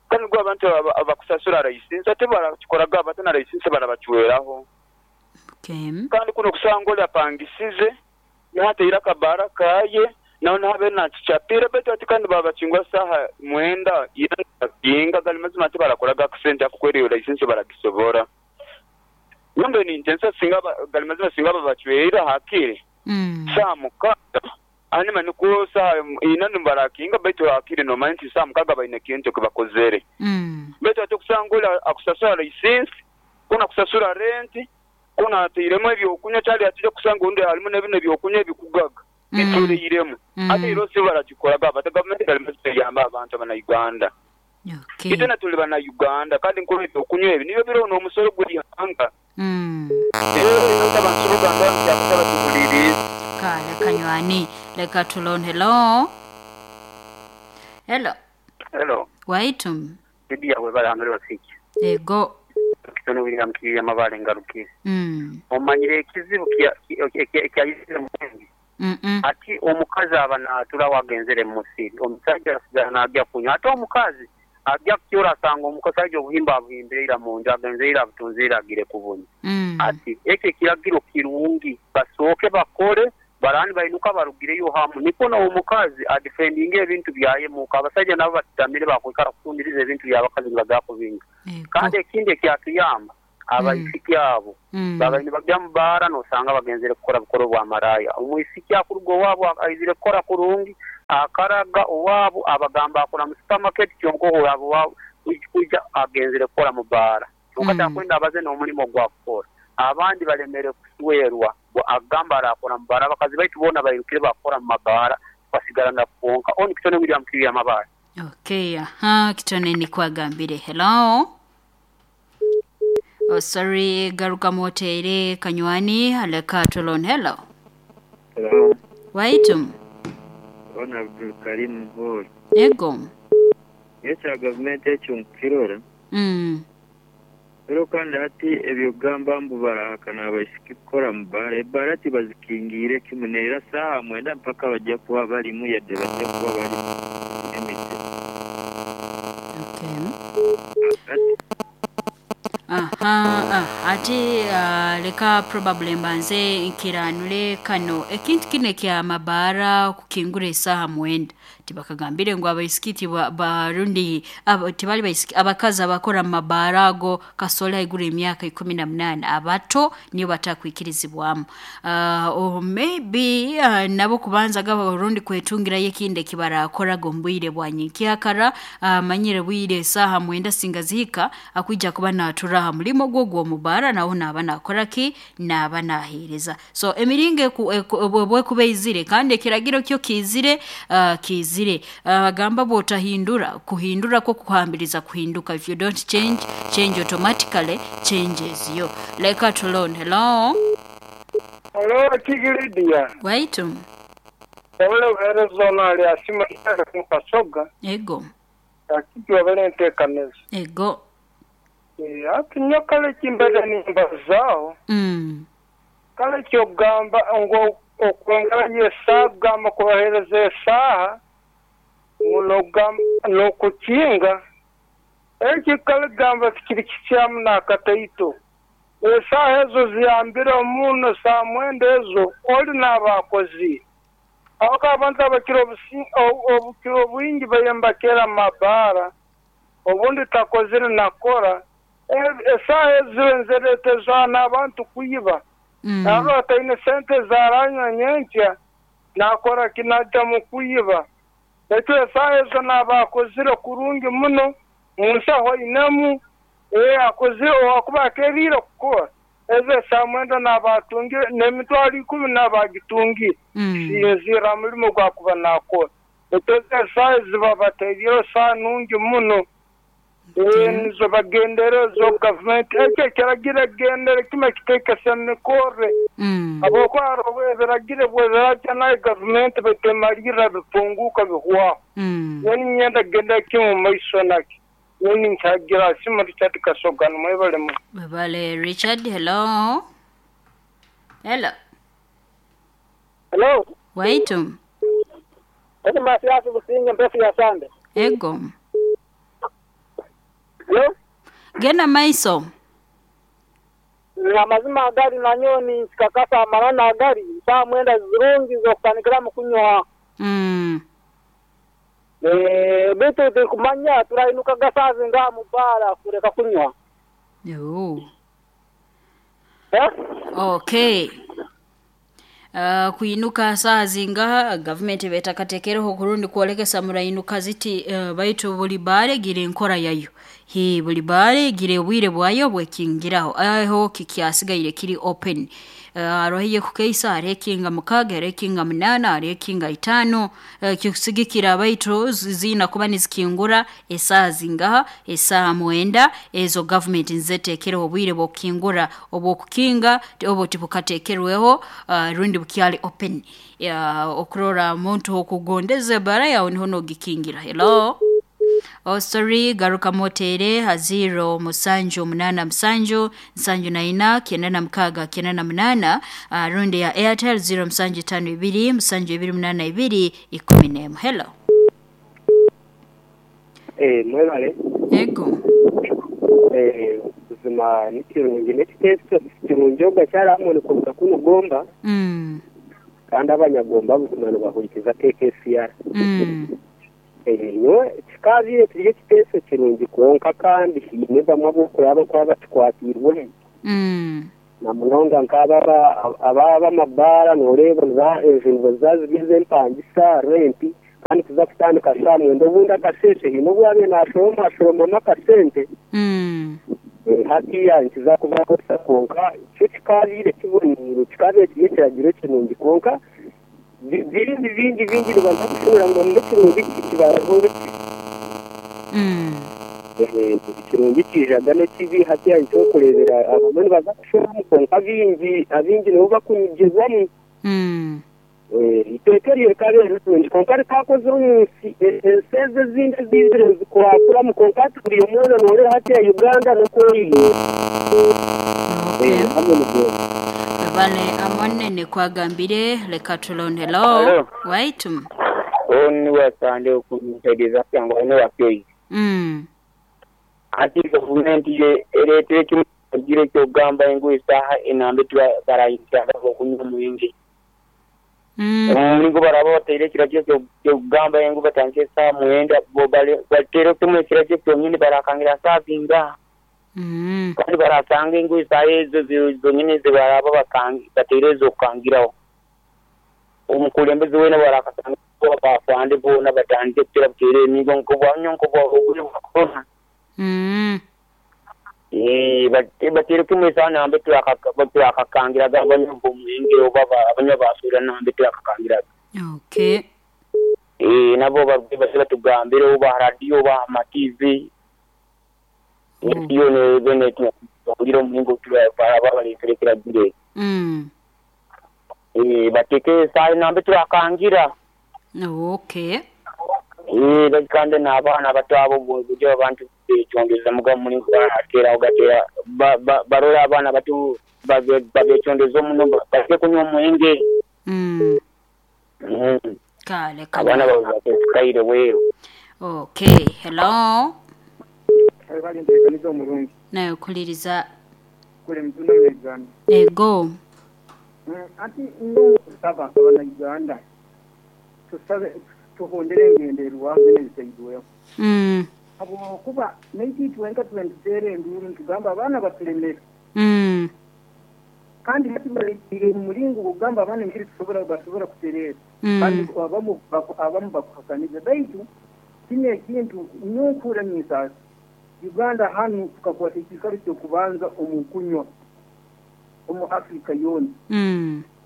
Kandi gwa abantu abakusasura license ate barakikoraga abatana license barabacweraho. Okay. Kandi kuno kusanga oli apangisize nateira kabara kaye naho habe nakichapira baitu ati kandi babachingwa saha mwenda yinga gali mazima ati barakoraga accent akukwera license baragisobora. Nyombe ni intensa singa gali mazima singa babacwera hakiri. Saa mukaga anima nuko saa inani barakinga baitu hakiri no manti saa mukaga baine kintu kibakozere. Baitu ati kusanga akusasura license kuna kusasura rent kuna atiremo ebyokunywa kyali atije kusanga undi harimo n'ebino ebyokunywa ebikugaga. Bitureyiremu. Ate ero si baragikoraga bata government gali mazima yamba abantu abana Uganda. Okay. Itena tuli bana Uganda kandi nkuru ebyokunywa ebi nibyo biro n'omusolo gw'ihanga. Kale kanywani leka tulon. Hello. Hello. Hello. Waitu. Bibi yawe barahanure basiki. Ego. Kitono William Kiriya mabale ngarukire. Omanyire ekizibu kya kya mu. Ati omukazi aba naaturaho agenzere mu musiri, omusaija asigara naagya kunywa. Ate omukazi agya kukyora asanga omusaija obuhimba abuhimbire ira mu nju, agenzere ira abutunzire ira agire kubunywa. Ati ekyo ekiragiro kirungi, basooke bakore barani bainuka barugireyo hamu nikwo n'omukazi adifendinge ebintu byaye muka. Abasaija nabo batutamire bakwikara kutundiriza ebintu by'abakazi nibagya kubinga. Kandi ekindi ekyatuyamba, abaisiki abo baba nibagya mu baara nosanga bagenzere kukora bukora obwa maraaya. Omwisiki akuruga owaabu aizire kukora kurungi, akaraga owaabu abagamba akora mu supamaketi kyonka ohurra owaabu kwija agenzere kukora mu baara. Kyonka takwenda abaze n'omulimo ogwakukora. Abandi balemere kuswerwa agamba arakora mu baara. Abakazi baitu boona bairukire bakukora mu mabaara tukasigara na kwonka. Onu Kitone William Kiria Mabaare. Okay, aha, Kitone nikwo agambire. Hello? Oh, sorry, garuka motere kanywani aleka tulon. Hello? Hello. Waitum. Ona Abdul Karim Hall. Ego. Ekya gavumenti ekyo nkukirora. Ero kandi hati eby'okugamba mbu barahakana abaisiki kukora mu bbaara, ebbaara tibazikingiire kimu neera saaha mwenda mpaka bajja kuba balimu yadde bajja kuba balimu emite. Okay. Aha, ah, ati leka probably mbanze nkiranule kano ekintu kino ekya mabaara kukingura esaaha 9 tibakagambire ngu abaisiki barundi tibali baisiki abakazi abakora mu mabaara ago kasole haiguru emyaka 18 abato niyo batakwikirizibwamu. Or maybe nabo kubanza gaba rundi kwetungirayo ekindi ekibarakoraga omu bwire bwa nyenkyakara, amanyire bwire esaaha 9 singa zihika akwija kuba natura aha mulimo gwo gw'omubaara naho naaba nakora ki, naaba naheereza. So emiringo bwekuba eizire kandi ekiragiro kyo kiizire, kiizire. Bagamba bw'otahindura, kuhindura kwo kuhambiriza kuhinduka. If you don't change, change automatically changes you. Leka tulone. Hello? Hello, Kiki Lydia. Waitu. Wabale obuheereza ono ali asima Kasoga. Ego. Kiki wabale enteekaniza. Ego. Ati nyo kale kimbaire nimbazaaho. Kale ky'okugamba ngu okwongerayo esaaha kugamba kubaheereza esaaha ngu n'okukinga, ekyo kale kugamba tikiri kikyamu n'akataito. Esaaha ezo ziyambire muno saaha 9 ezo oli naaba akozire. Habwokuba abantu abakira obukiro obwingi baire nibakeera mu mabaara, obundi takozire nakora. Esaaha ezo nizireeteza n'abantu kwiba. Naaba ataine sente ezaranywa nyenkya, nakora ki najja mu kwiba. Ekyo esaaha ezo naaba akozire kurungi muno, mu nsaho ainemu, akozire owakuba akeeriire kukora. Ezo esaaha 9 naaba atungire, n'emitwaro 10 naaba agitungire. Kusinziirra ha mulimo gwakuba naakora. Ekyo esaaha ezi babateerireho saaha nungi muno. Nizo bagendera ezo gavumenti. Ekyo ekiragiro ekigendere kimwe kiteekesa emikorre. Habwokuba hariho ebiragiro bwebirajja nayo gavumenti baitu emalirra bipunguuka bihwaho. Nyowe niinyenda kugendera kimwe omu maiso nakyo. Nyowe ninkyagira Asima Richard Kasoga nimwebale muno. Webale Richard. Hello. Hello. Hello. Waitu. Eti Mathias Businge mpefu ya Sande. Ego. Hello. Genda maiso. Amazima agari nanyo ninkikakasa amarana agari saa 9 zirungi z'okutandikiramu kunywa. Bitu tikumanya turainukaga saa zingaha mu baara kureka kunywa. Okay. Kuinuka saa zingaha gavumenti betakatekereho kurundi kwolekesa murainuka ziti, baitu buli baare gire enkora yayo. Hi buli baare gire obwire bwayo bwekingiraho. Aho kikyasigaire kiri open. Hariho ey'ekukeisa, hariho ekinga 6, hariho ekinga 8, hariho ekinga 5, kikusigikira baitu ziina kuba nizikingura esaaha zingaha, esaaha 9 ezo gavumenti nizeteekereho obwire bw'okukingura, obw'okukinga obwo tibukateekerweho, rundi bukyali open. Okurora omuntu okugondeza ebbaara yawe niho noogikingira. Hello? Oh sorry, garuka motere ha 0 musanju munana musanju nsanju na ina kenda na mukaga kenda na munana, rundi ya Airtel 0 musanju tano ibiri musanju ibiri munana ibiri ikumi n'emu. Hello. Mwebale. Ego. Buzima nikirungi n'ekiteeso kirungi ogakyaramu nikuruga kuno Gomba. Kandi abanyagomba buzima nibahurikiza KKCR. Nyowe kikaabire kiri ekiteeso kirungi kwonka kandi hiine bamwe ab'okuraba kuba bakikwatiirwe. Na munonga nk'aba ab'amabaara nooreeba enju nibaza z'empangisa renti kandi kuza kutandika saa mwenda obundi akasente hiine obu yabaire naashoroma ashoromamu akasente. Hatiya nkiza kubakosa kwonka kyo kikaabire kiboniire kikaabire kiri ekiragiro kirungi kwonka bingi bingi bingi nibaza kushobora ngu n'ekirungi kibaho ekirungi kijaga n'ekibi hatiya nikyokureebera abamwe nibaza kushoboramu kwonka abingi nibo bakunyigirwamu. Iteeka eryo rikabeera rirungi kwonka rikakozire omu nsi ensi ezo ezindi ezizire zikurakuramu kwonka hati buri omwe nooreeba hatiya Uganda n'okwoyine. Bale amonene kwagambire leka tulonde. Hello. Waitu. Oni wasande okumusaidiza kyangu ane wakyoyi. Ati gavumenti ereetere kimu ekiragiro ky'okugamba engu esaaha enambe barayingira okunywa omwenge. Omulingo baraba bateire ekiragiro ky'okugamba engu batandike esaaha 9 bateire kimu ekiragiro kyonyini barakangira saaha zingaha. Kandi barasanga engu esaaha ezo zonyini zibaraba bateire ez'okukangiraho. Omukulembeze weena barakasanga abafande boona batandike kutera buteera emigo nk'obwanyo nk'obwa bwa korona. Bateire kimu esaaha nambe turakakangiraga abanywa b'omwenge oba abanywa ba soda nambe turakakangiraga. Okay. Nabo baze batugambire oba ha radiyo oba aha TV. Iyo bene tuwulira omulingo baraba baleetere ekiragiro. Bateeke esaaha nambe turakangira. Okay. Kandi n'abaana bato abo buryo abantu bekyondeza muga mulingo barateraho gatera barora abaana bato babekyondeza muno baleke kunywa omwenge. Kale abaana babateekaire bweru. Okay, hello. Bali nteekaniza omurungi. Nawe kuliriza. Kule mtuno Uganda. Ego. Ati no saba abana Uganda. Tusabe tuhondere engendererwa n'ebisaidweho. Habwokuba naiti twenka twentuteera enduuru ntugamba abaana batulemere. Kandi hati baleetire omuringo ogugamba abaana engeri basobora kutereera. Kandi abamu bakuhakaniza baitu kino ekintu nyowe ninsaasa. Uganda hanu tukakwata ekiikaro ky'okubanza omu kunywa omu Afrika yoona.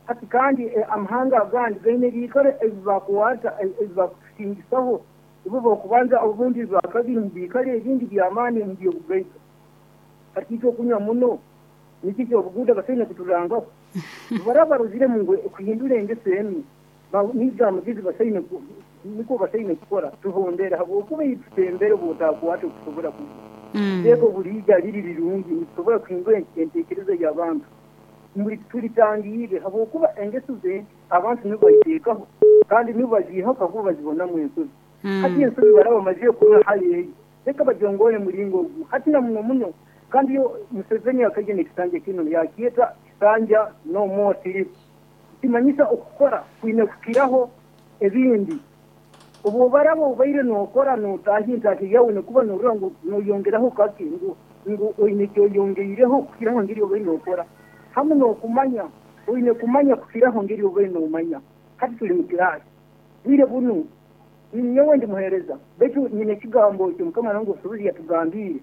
Hati kandi amahanga agandi gaine ebiikaro ebibakukwata ebibakusingisaho ibo bokubanza obundi bwakabiri mu biikaro ebindi by'amaani mu by'obugaiga. Hati itwe okunywa muno nikyo ekyobuguuda basaine kuturangaho. Baraba barozire ngu kuhindura engeso enu niga amagezi basaine niko basaine kukora tuhondere habwokuba itutembere bw'otakwata okusobora kunywa. Iteeka obuliija riri rirungi nitusobora kuhindura enteekereza y'abantu. Tulitangiire habwokuba engeso ze abantu nibo baziteekaho kandi nibo baziihaho kakuba bazibonamu ensobi. Hati ensobi baraba bamazire kurora hali eyo reka bagyongore muringo ogu hati na muno muno. Kandi yo Museveni akaija n'ekisanja kinu yakyeta kisanja no more sleep. Kimanyisa okukora kwine kukiraho ebindi. Obu baraba obaire nookora nootaaha entaahi yawe nikuba norora ngu noyongeraho kake ngu oine ekyoyongeireho kukiraho ngeri obaire nookora. Hamu n'okumanya oine kumanya kukiraho ngeri obaire noomanya. Hati tuli mu kiraasi bwire bunu nyowe ndi muheereza baitu nyine ekigambo ekyo Mukama nange obusobozi yatugambiire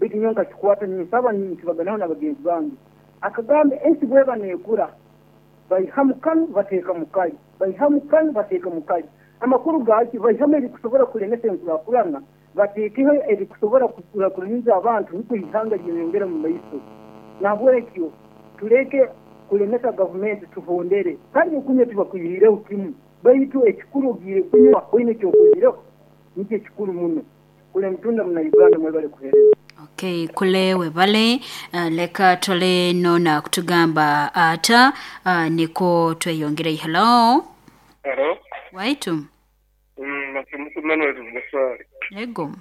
baitu nyowe nkakikwata ninsaba nikibaganaho n'abagenzi bange. Akagamba ensi bweba neekura baihamu kanu bateeka mu kali, baihamu kanu bateeka mu kali. Amakuru gaki baihamu ebikusobora kulemesa enkurakurana bateekeho ebikusobora kukurakuraniza abantu nukwo ihanga lyeyongera mu maiso. Nahabwekyo tuleke kulemesa gavumenti tuhondere kandi okunywa tibakwihireho kimu baitu ekikuru ogiire kunywa oine ekyokozireho nikyo ekikuru muno. Kule mutunda muna Uganda mwebale kuhereza. Okay, kule webale leka tole nona kutugamba ata niko tweyongere. Hello. Hello. Waitu. Masimuku Manuel Musari. Ego.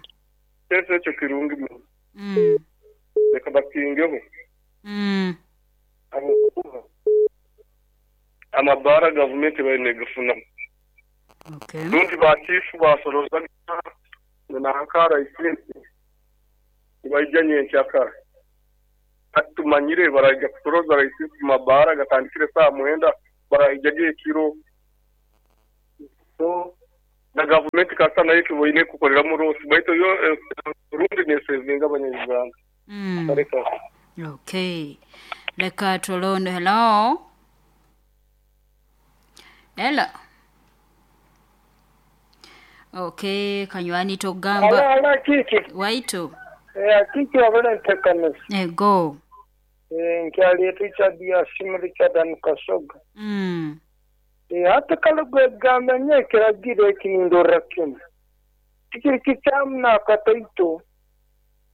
Kese ekyo kirungi muno. Leka bakingeho. Amabara gavumenti baine gafunamu. Okay. Rundi bachifu basoroza nankara isinzi nibaija nyenkyakara. Hati tumanyire baraija kusoroza raisi mabara gatandikire saa 9 baraija ekiro. So na gavumenti kasa nayo kiboine kukorera rosi baitu yo rundi nesevinga abanyarwanda. Okay. Leka tolondo. Hello. Hello. Okay, kanywani togamba. Ala kiki. Waitu. Kiki wabona ntekanisa. Go. Nkyali Richard ya simu Richard Anukasoga. Hata kala gwegamba nye kiragiro ekindora kimu. Kikiri kitamu na kataito.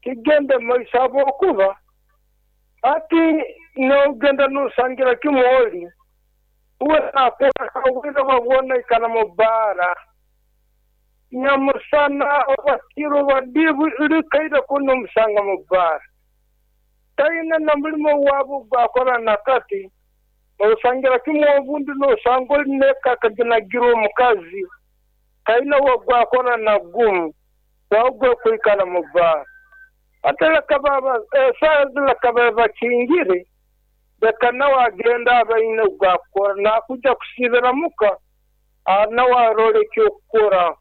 Kigenda maisha abokuba. Ati nogenda nusangira kimu oli. Uwe nakora kawira babona ikana mubara. Nyamusana obakiro badibu irikaira kuno musanga mubara. Taina na mulimo wabo gwakora nakati. Osangira kimu obundi nosanga neka kaginagira omukazi. Taina wagwakora na gumu. Wagwe kwikala mubara. Atela kababa sazila kababa kingire. Beka nawe agenda abaine gwakora nakuja kusibira muka nawe arole kyokukora.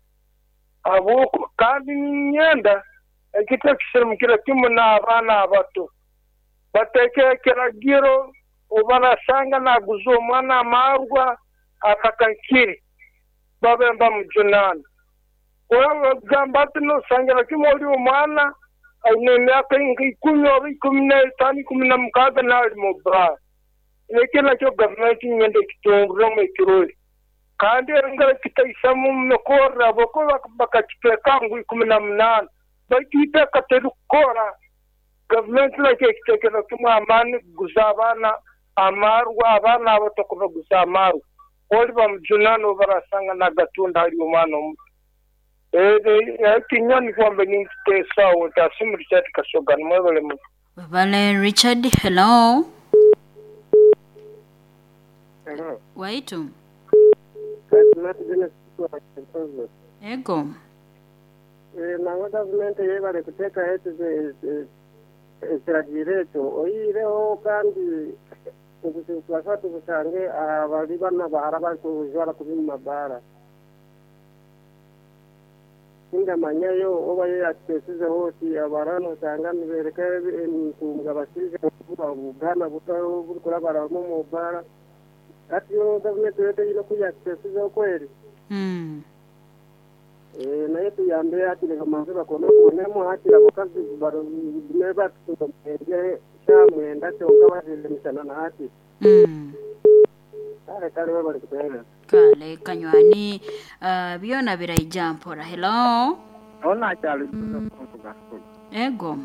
Abuko kandi ninyenda ekito kisirumukira kimu n'abaana abato. Bateke ekiragiro obarasanga naguza omwana amarwa akakankiri babe bamujunana. Gamba ati nosangira kimu oli omwana aine emyaka 10 oba 15 16 nali mu bar. Eki nakyo gavumenti nyenda ekitunguremu ekirori. Kandi engara kitaisamu mukora boko bakakiteka ngu 18 baitu iteka terikukora. Gavumenti nakyo ekitekera kimu amaani kuguza abaana amarwa, abaana abato kubaguza amarwa. Oli bamujunana obarasanga nagatunda hali omwana omuto. Kinyoni kwamba ninkiteesa ntasimu Richard Kasoga nimwebale muno. Webale Richard. Hello. Hello. Waitu. Ego. Nangwa gavumenti yebale kuteeka ekiragiro ekyo oyireho kandi obuzibu tubasa tubusange abali bana bahara barikujwara kubi mu mabara. Sindamanyayo oba yo yakitesizeho oti abarano osanga nibereka entunga basize obugana buto burikurabaramu mu bara. Ati yo gavumenti yote ine kuyakitesizeho kweri. Naye tuyambe ati leka manze bakone kubonemu hati abakazi batutumende kyamwenda kyonka bazire misana na hati. Kale kale bari kuterera. Kale kanywani byona biraija mpora. Hello. Ona kyali kuvuga. Ego.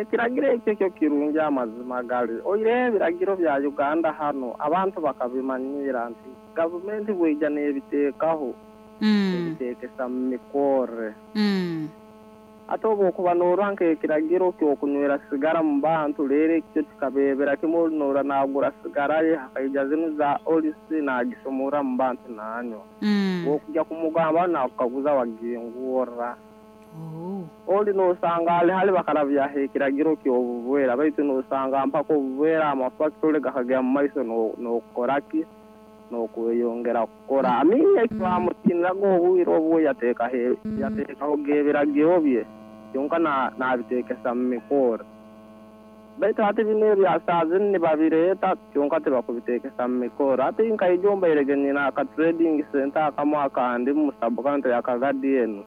Ekiragiro ekyo kyo kirungi amazima gali. Oire ebiragiro bya Uganda hano abantu bakabimanyira nti gavumenti bweija n'ebiteekaho. Ebitekesa mu mikore. Ate oba okuba noorwa nk'ekiragiro ky'okunywera sigara mu bantu leero ekyo kikabebera kimu noora naagura sigara ye hakaija zinu za olisi naagisomora mu bantu naanywa. Okujja kumugamba nakukaguza wagingurra. Oli nosanga ali hali bakarabyaho ekiragiro ky'obubwera baitu nosanga mpaka obubwera amafactory gakagya mu maiso n'okukoraki n'okweyongera kukora. Amini ekibamutiiniraga obwire obwo yateekaho ebiragiro bye kyonka nabitekesa mu mikoro. Baitu hati bino ebya saa zinu nibabireeta kyonka tibakubitekesa mu mikoro. Hati nkaija ombairege nyina aka trading center akamu akandi mu sub-county ya Kagadi enu.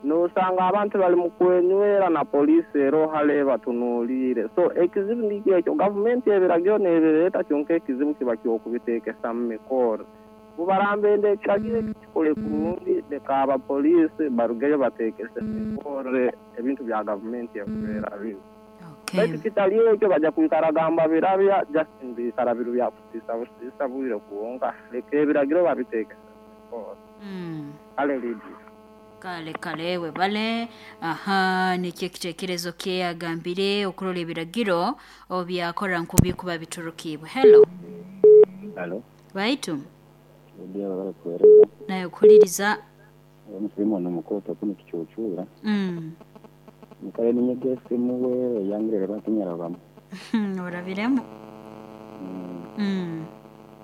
Nosanga abantu bali mu kwenywera na poliisi ero hale batunuulire. So ekizibu nikyo ekyo gavumenti ebiragiro nebireeta kyonka ekizibu kiba ky'okubitekesa mu mikoro. Bubarambende ekiragiro eki kikole kurungi leka abapoliisi barugeyo bateekese bekorre ebintu bya gavumenti ekubeera binu. Baitu kitali ekyo baja kwikaraga mbabirabya just nibiikara biri bya kusiisa busiisa bwire kwonka. Leka ebiragiro babiteekese mu nkora. Kale Lydia. Kale kale webale. Aha nikyo ekitekerezo kye agambire okurora ebiragiro obyakora nkubikuba biturukibwe. Hello. Halo. Baitu. Lydia webale kuhereza. Nawe kuhuliriza. Omu Filimoni omukoto kunu kicucuura. Nyikara ninyega esimu we eyangire reba tinyarabamu. Orabiremu.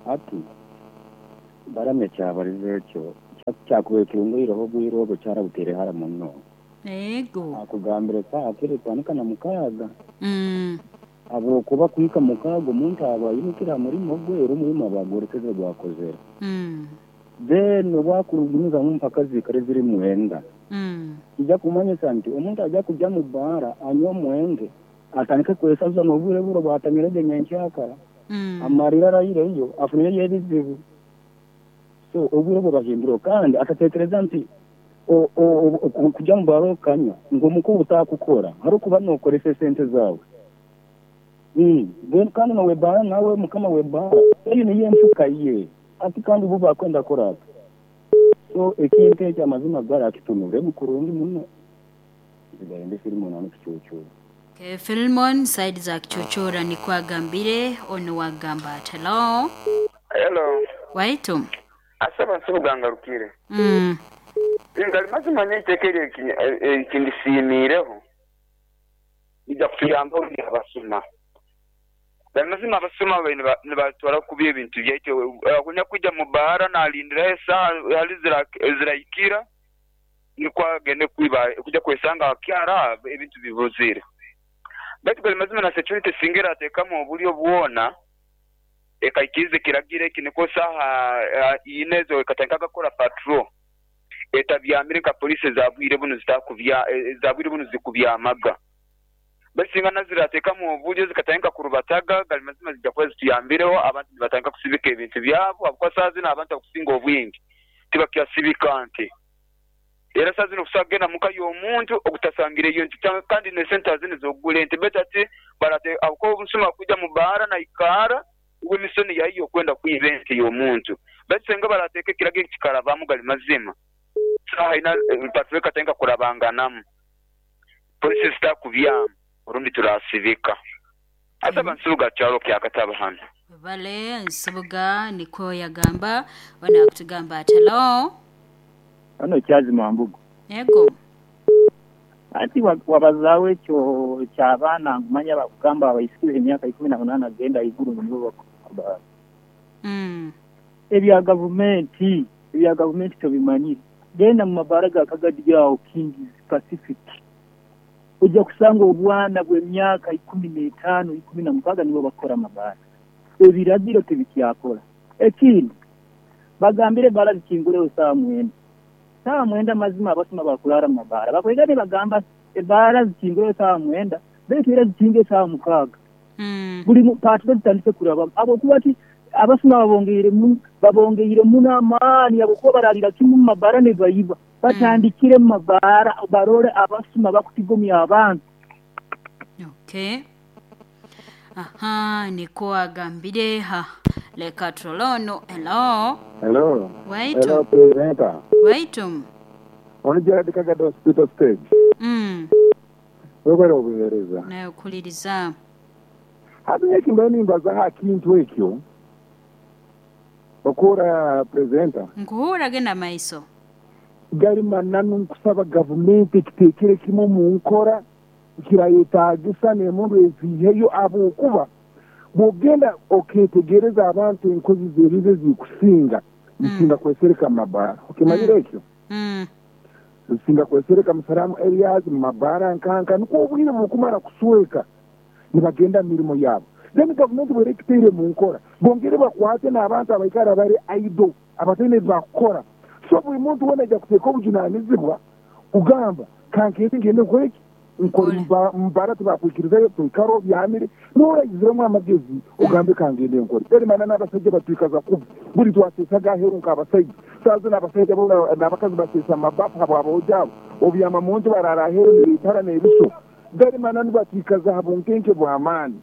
Hati Balamu ekyabalize ekyo kyakubaire kirungoireho obwire obwo kyarabutaire hara muno. Ego. Akugambire saaha kiro etandika na mukaaga. Habwokuba kuhika mukaaga omuntu aba aimukire ha murimo gwe era omurimo aba agworekeze gwakozere. Then obu akugumizamu mpaka ziikare ziri mwenda. Kija kumanyisa nti omuntu aja kugya mu bbaara anywe omwenge atandike kwesaza n'obwire bura obwatanyirege nyenkyakara amarire araireyo afunireyo ebizibu. So obwire obwo bahindureho kandi atatekereza nti kugya mu bbaara okanywa ngu omuka otakukora harokuba nokoresa esente zaawe. Then kandi n'ow'ebbaara nawe mukama w'ebbaara eyo niyo enfuka ye hati kandi bo bakwenda akore ata? So ekintu ekyo amazima gari akitunuremu kurungi muno. Nsigaire ndi Filimoni hanu Kicuucuura. Okay, Filimon side za Kicuucuura nikwo agambire. Onu wagamba ati hello. Hello. Waitu. Asaba Nsubuga ngarukire. Ngali mazima nyowe eiteeka eryo eki ndisiimiireho lija kutuyambaho rundi abasuma. Gali mazima abasuma babaire nibatwara kubi ebintu byaitu. Onyakwija mu bbaara nalindiraho esaaha hali zirahikira nukwo agende kwiba kwija kwesanga akyara ebintu bibuzire. Baitu gali mazima na security singa eratekamu obulyo bwona ekaikiriza ekiragiro eki nukwo saaha ina ezo ekatandika kukora patrol etabyamire nka police eza bwire bunu eza bwire bunu zikubyamaga. Baitu singa nazo zirateekamu obulyo zikatandika kurubataga, gali mazima zija kuba zituyambireho abantu nibatandika kusibika ebintu byabo habwokuba saaha zinu abantu abakusinga obwingi tibakyasibika nte. Era saaha zinu okusobola kugenda muka y'omuntu ogutasangireyo nte kandi n'esente saaha zinu ez'okugura ente baitu hati barate habwokuba omusuma akwija mu bbaara naikaara uwe emisoni yaiyo okwenda kwiba ente y'omuntu. Baitu singa barateeka ekiragiro eki kikarabamu gali mazima saaha ina patrol ekatandika kurabanganamu. Polisi zitakubyama orundi turasibika. Asaba Nsubuga kyaro kya Kataba hanu. Webale Nsubuga nikwo yagamba. Ono akutugamba ati hello. Hano Kyazima Mbugo. Yego. Anti wabazaaho ekyo eky'abaana ngu manya bakugamba abaisiki b'emyaka ikumi na munaana kugenda haiguru ngu nibo bakubaara. Ebya gavumenti, ebya gavumenti tobimanyire. Genda mu mabaara ga Kagadi aho Kings Pacific oija kusanga obwana bw'emyaka ikumi n'etaano, ikumi na mukaaga nibo bakukora amabaara. Ebiragiro tibikyakora. Ekindi, bagambire ebbaara zikinguleho saaha mwenda. Saaha mwenda mazima abasuma bakuraara mu mabaara. Bakwega nibagamba ebbaara zikinguleho saaha mwenda baitu era zikinge saaha mukaaga. Buli patrol zitandike kurabamu habwokuba ki abasuma babongeire muno amaani habwokuba bararira kimu mu mabaara nibaiba. Batandikire mu mabaara barole abasuma bakutigomya abantu. Okay. Aha, nikwo agambire. Ha, leka turole ono. Hello. Hello. Waitu. Hello, presenter. Waitu. Onu Gerald Kagado Hospital Stage. Webale obuhereza. Nawe kuhuliriza. Hati nyowe ekimbaire nimbaza aha kintu ekyo, okuhurra presenter. Nkuhurra genda maiso. Gari mananu nkusaba gavumenti ekiteekere kimu omu nkora kirayetaagisa n'emundu eziiheyo habwokuba bw'ogenda okeetegereza abantu enkozi z'ebibi ezikusinga zisinga kwesereka mu mabaara. Okimanyire ekyo? Zisinga kwesereka mu slum areas, mu mabaara nkanka nukwo obwire bukumara kusweka nibagenda mu mirimo yabo. Then gavumenti bwera ekitaire mu nkora bongere bakwate n'abantu abaikara bari idle abataine ebi bakukora. So buri muntu weena aija kuteeka obujunanizibwa kugamba kankeete ngende nkore ki? Nkore mubara tibakwikirizayo, toikara obyamire, n'orayiziremu amagezi ogambe kangende nkore. Eri mana n'abasajja batwikaza kubi. Buli twaseesaga aheeru nk'abasaija. Saaha zinu abasaija bo n'abakazi baseesa mu mabafu habw'aboojo abo. Obyama mu nju baraara aheeru nibaitara n'ebiso. Gari mananu batwikaza ha bunkenke bw'amaani.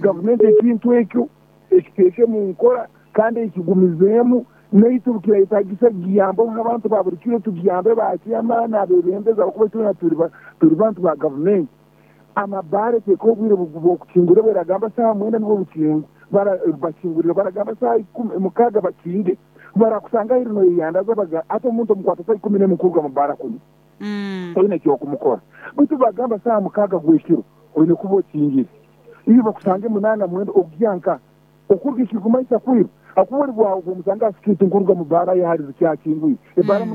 Gavumenti ekintu ekyo ekiteeke mu nkora kandi ekigumizeemu. Naitwe obu kirayetaagisa kugiyambaho nk'abantu ba buli kiro tugiyambe ba chairman, abeebembezi ahabw'okuba itwena turi bantu ba gavumenti. Amabaara eteeka obwire bw'okukingura bweragamba saaha mwenda nibwo bakingurire baragamba saaha ikumi mukaaga bakinge. Barakusanga aheeru noyeyandaza baga hati omuntu omukwata saaha 11 kuruga mu baara kunywa toine eky'okumukora. Baitu bagamba saaha 6 gw'ekiro oine kuba okingire. Iwe bakusange munaana mwenda ogya nka okuruga ekirikumanyisa kwiba. Akuba oli bwawe omusanga ha street nkuruga mu baara ye hali zikyakingwire ebaara.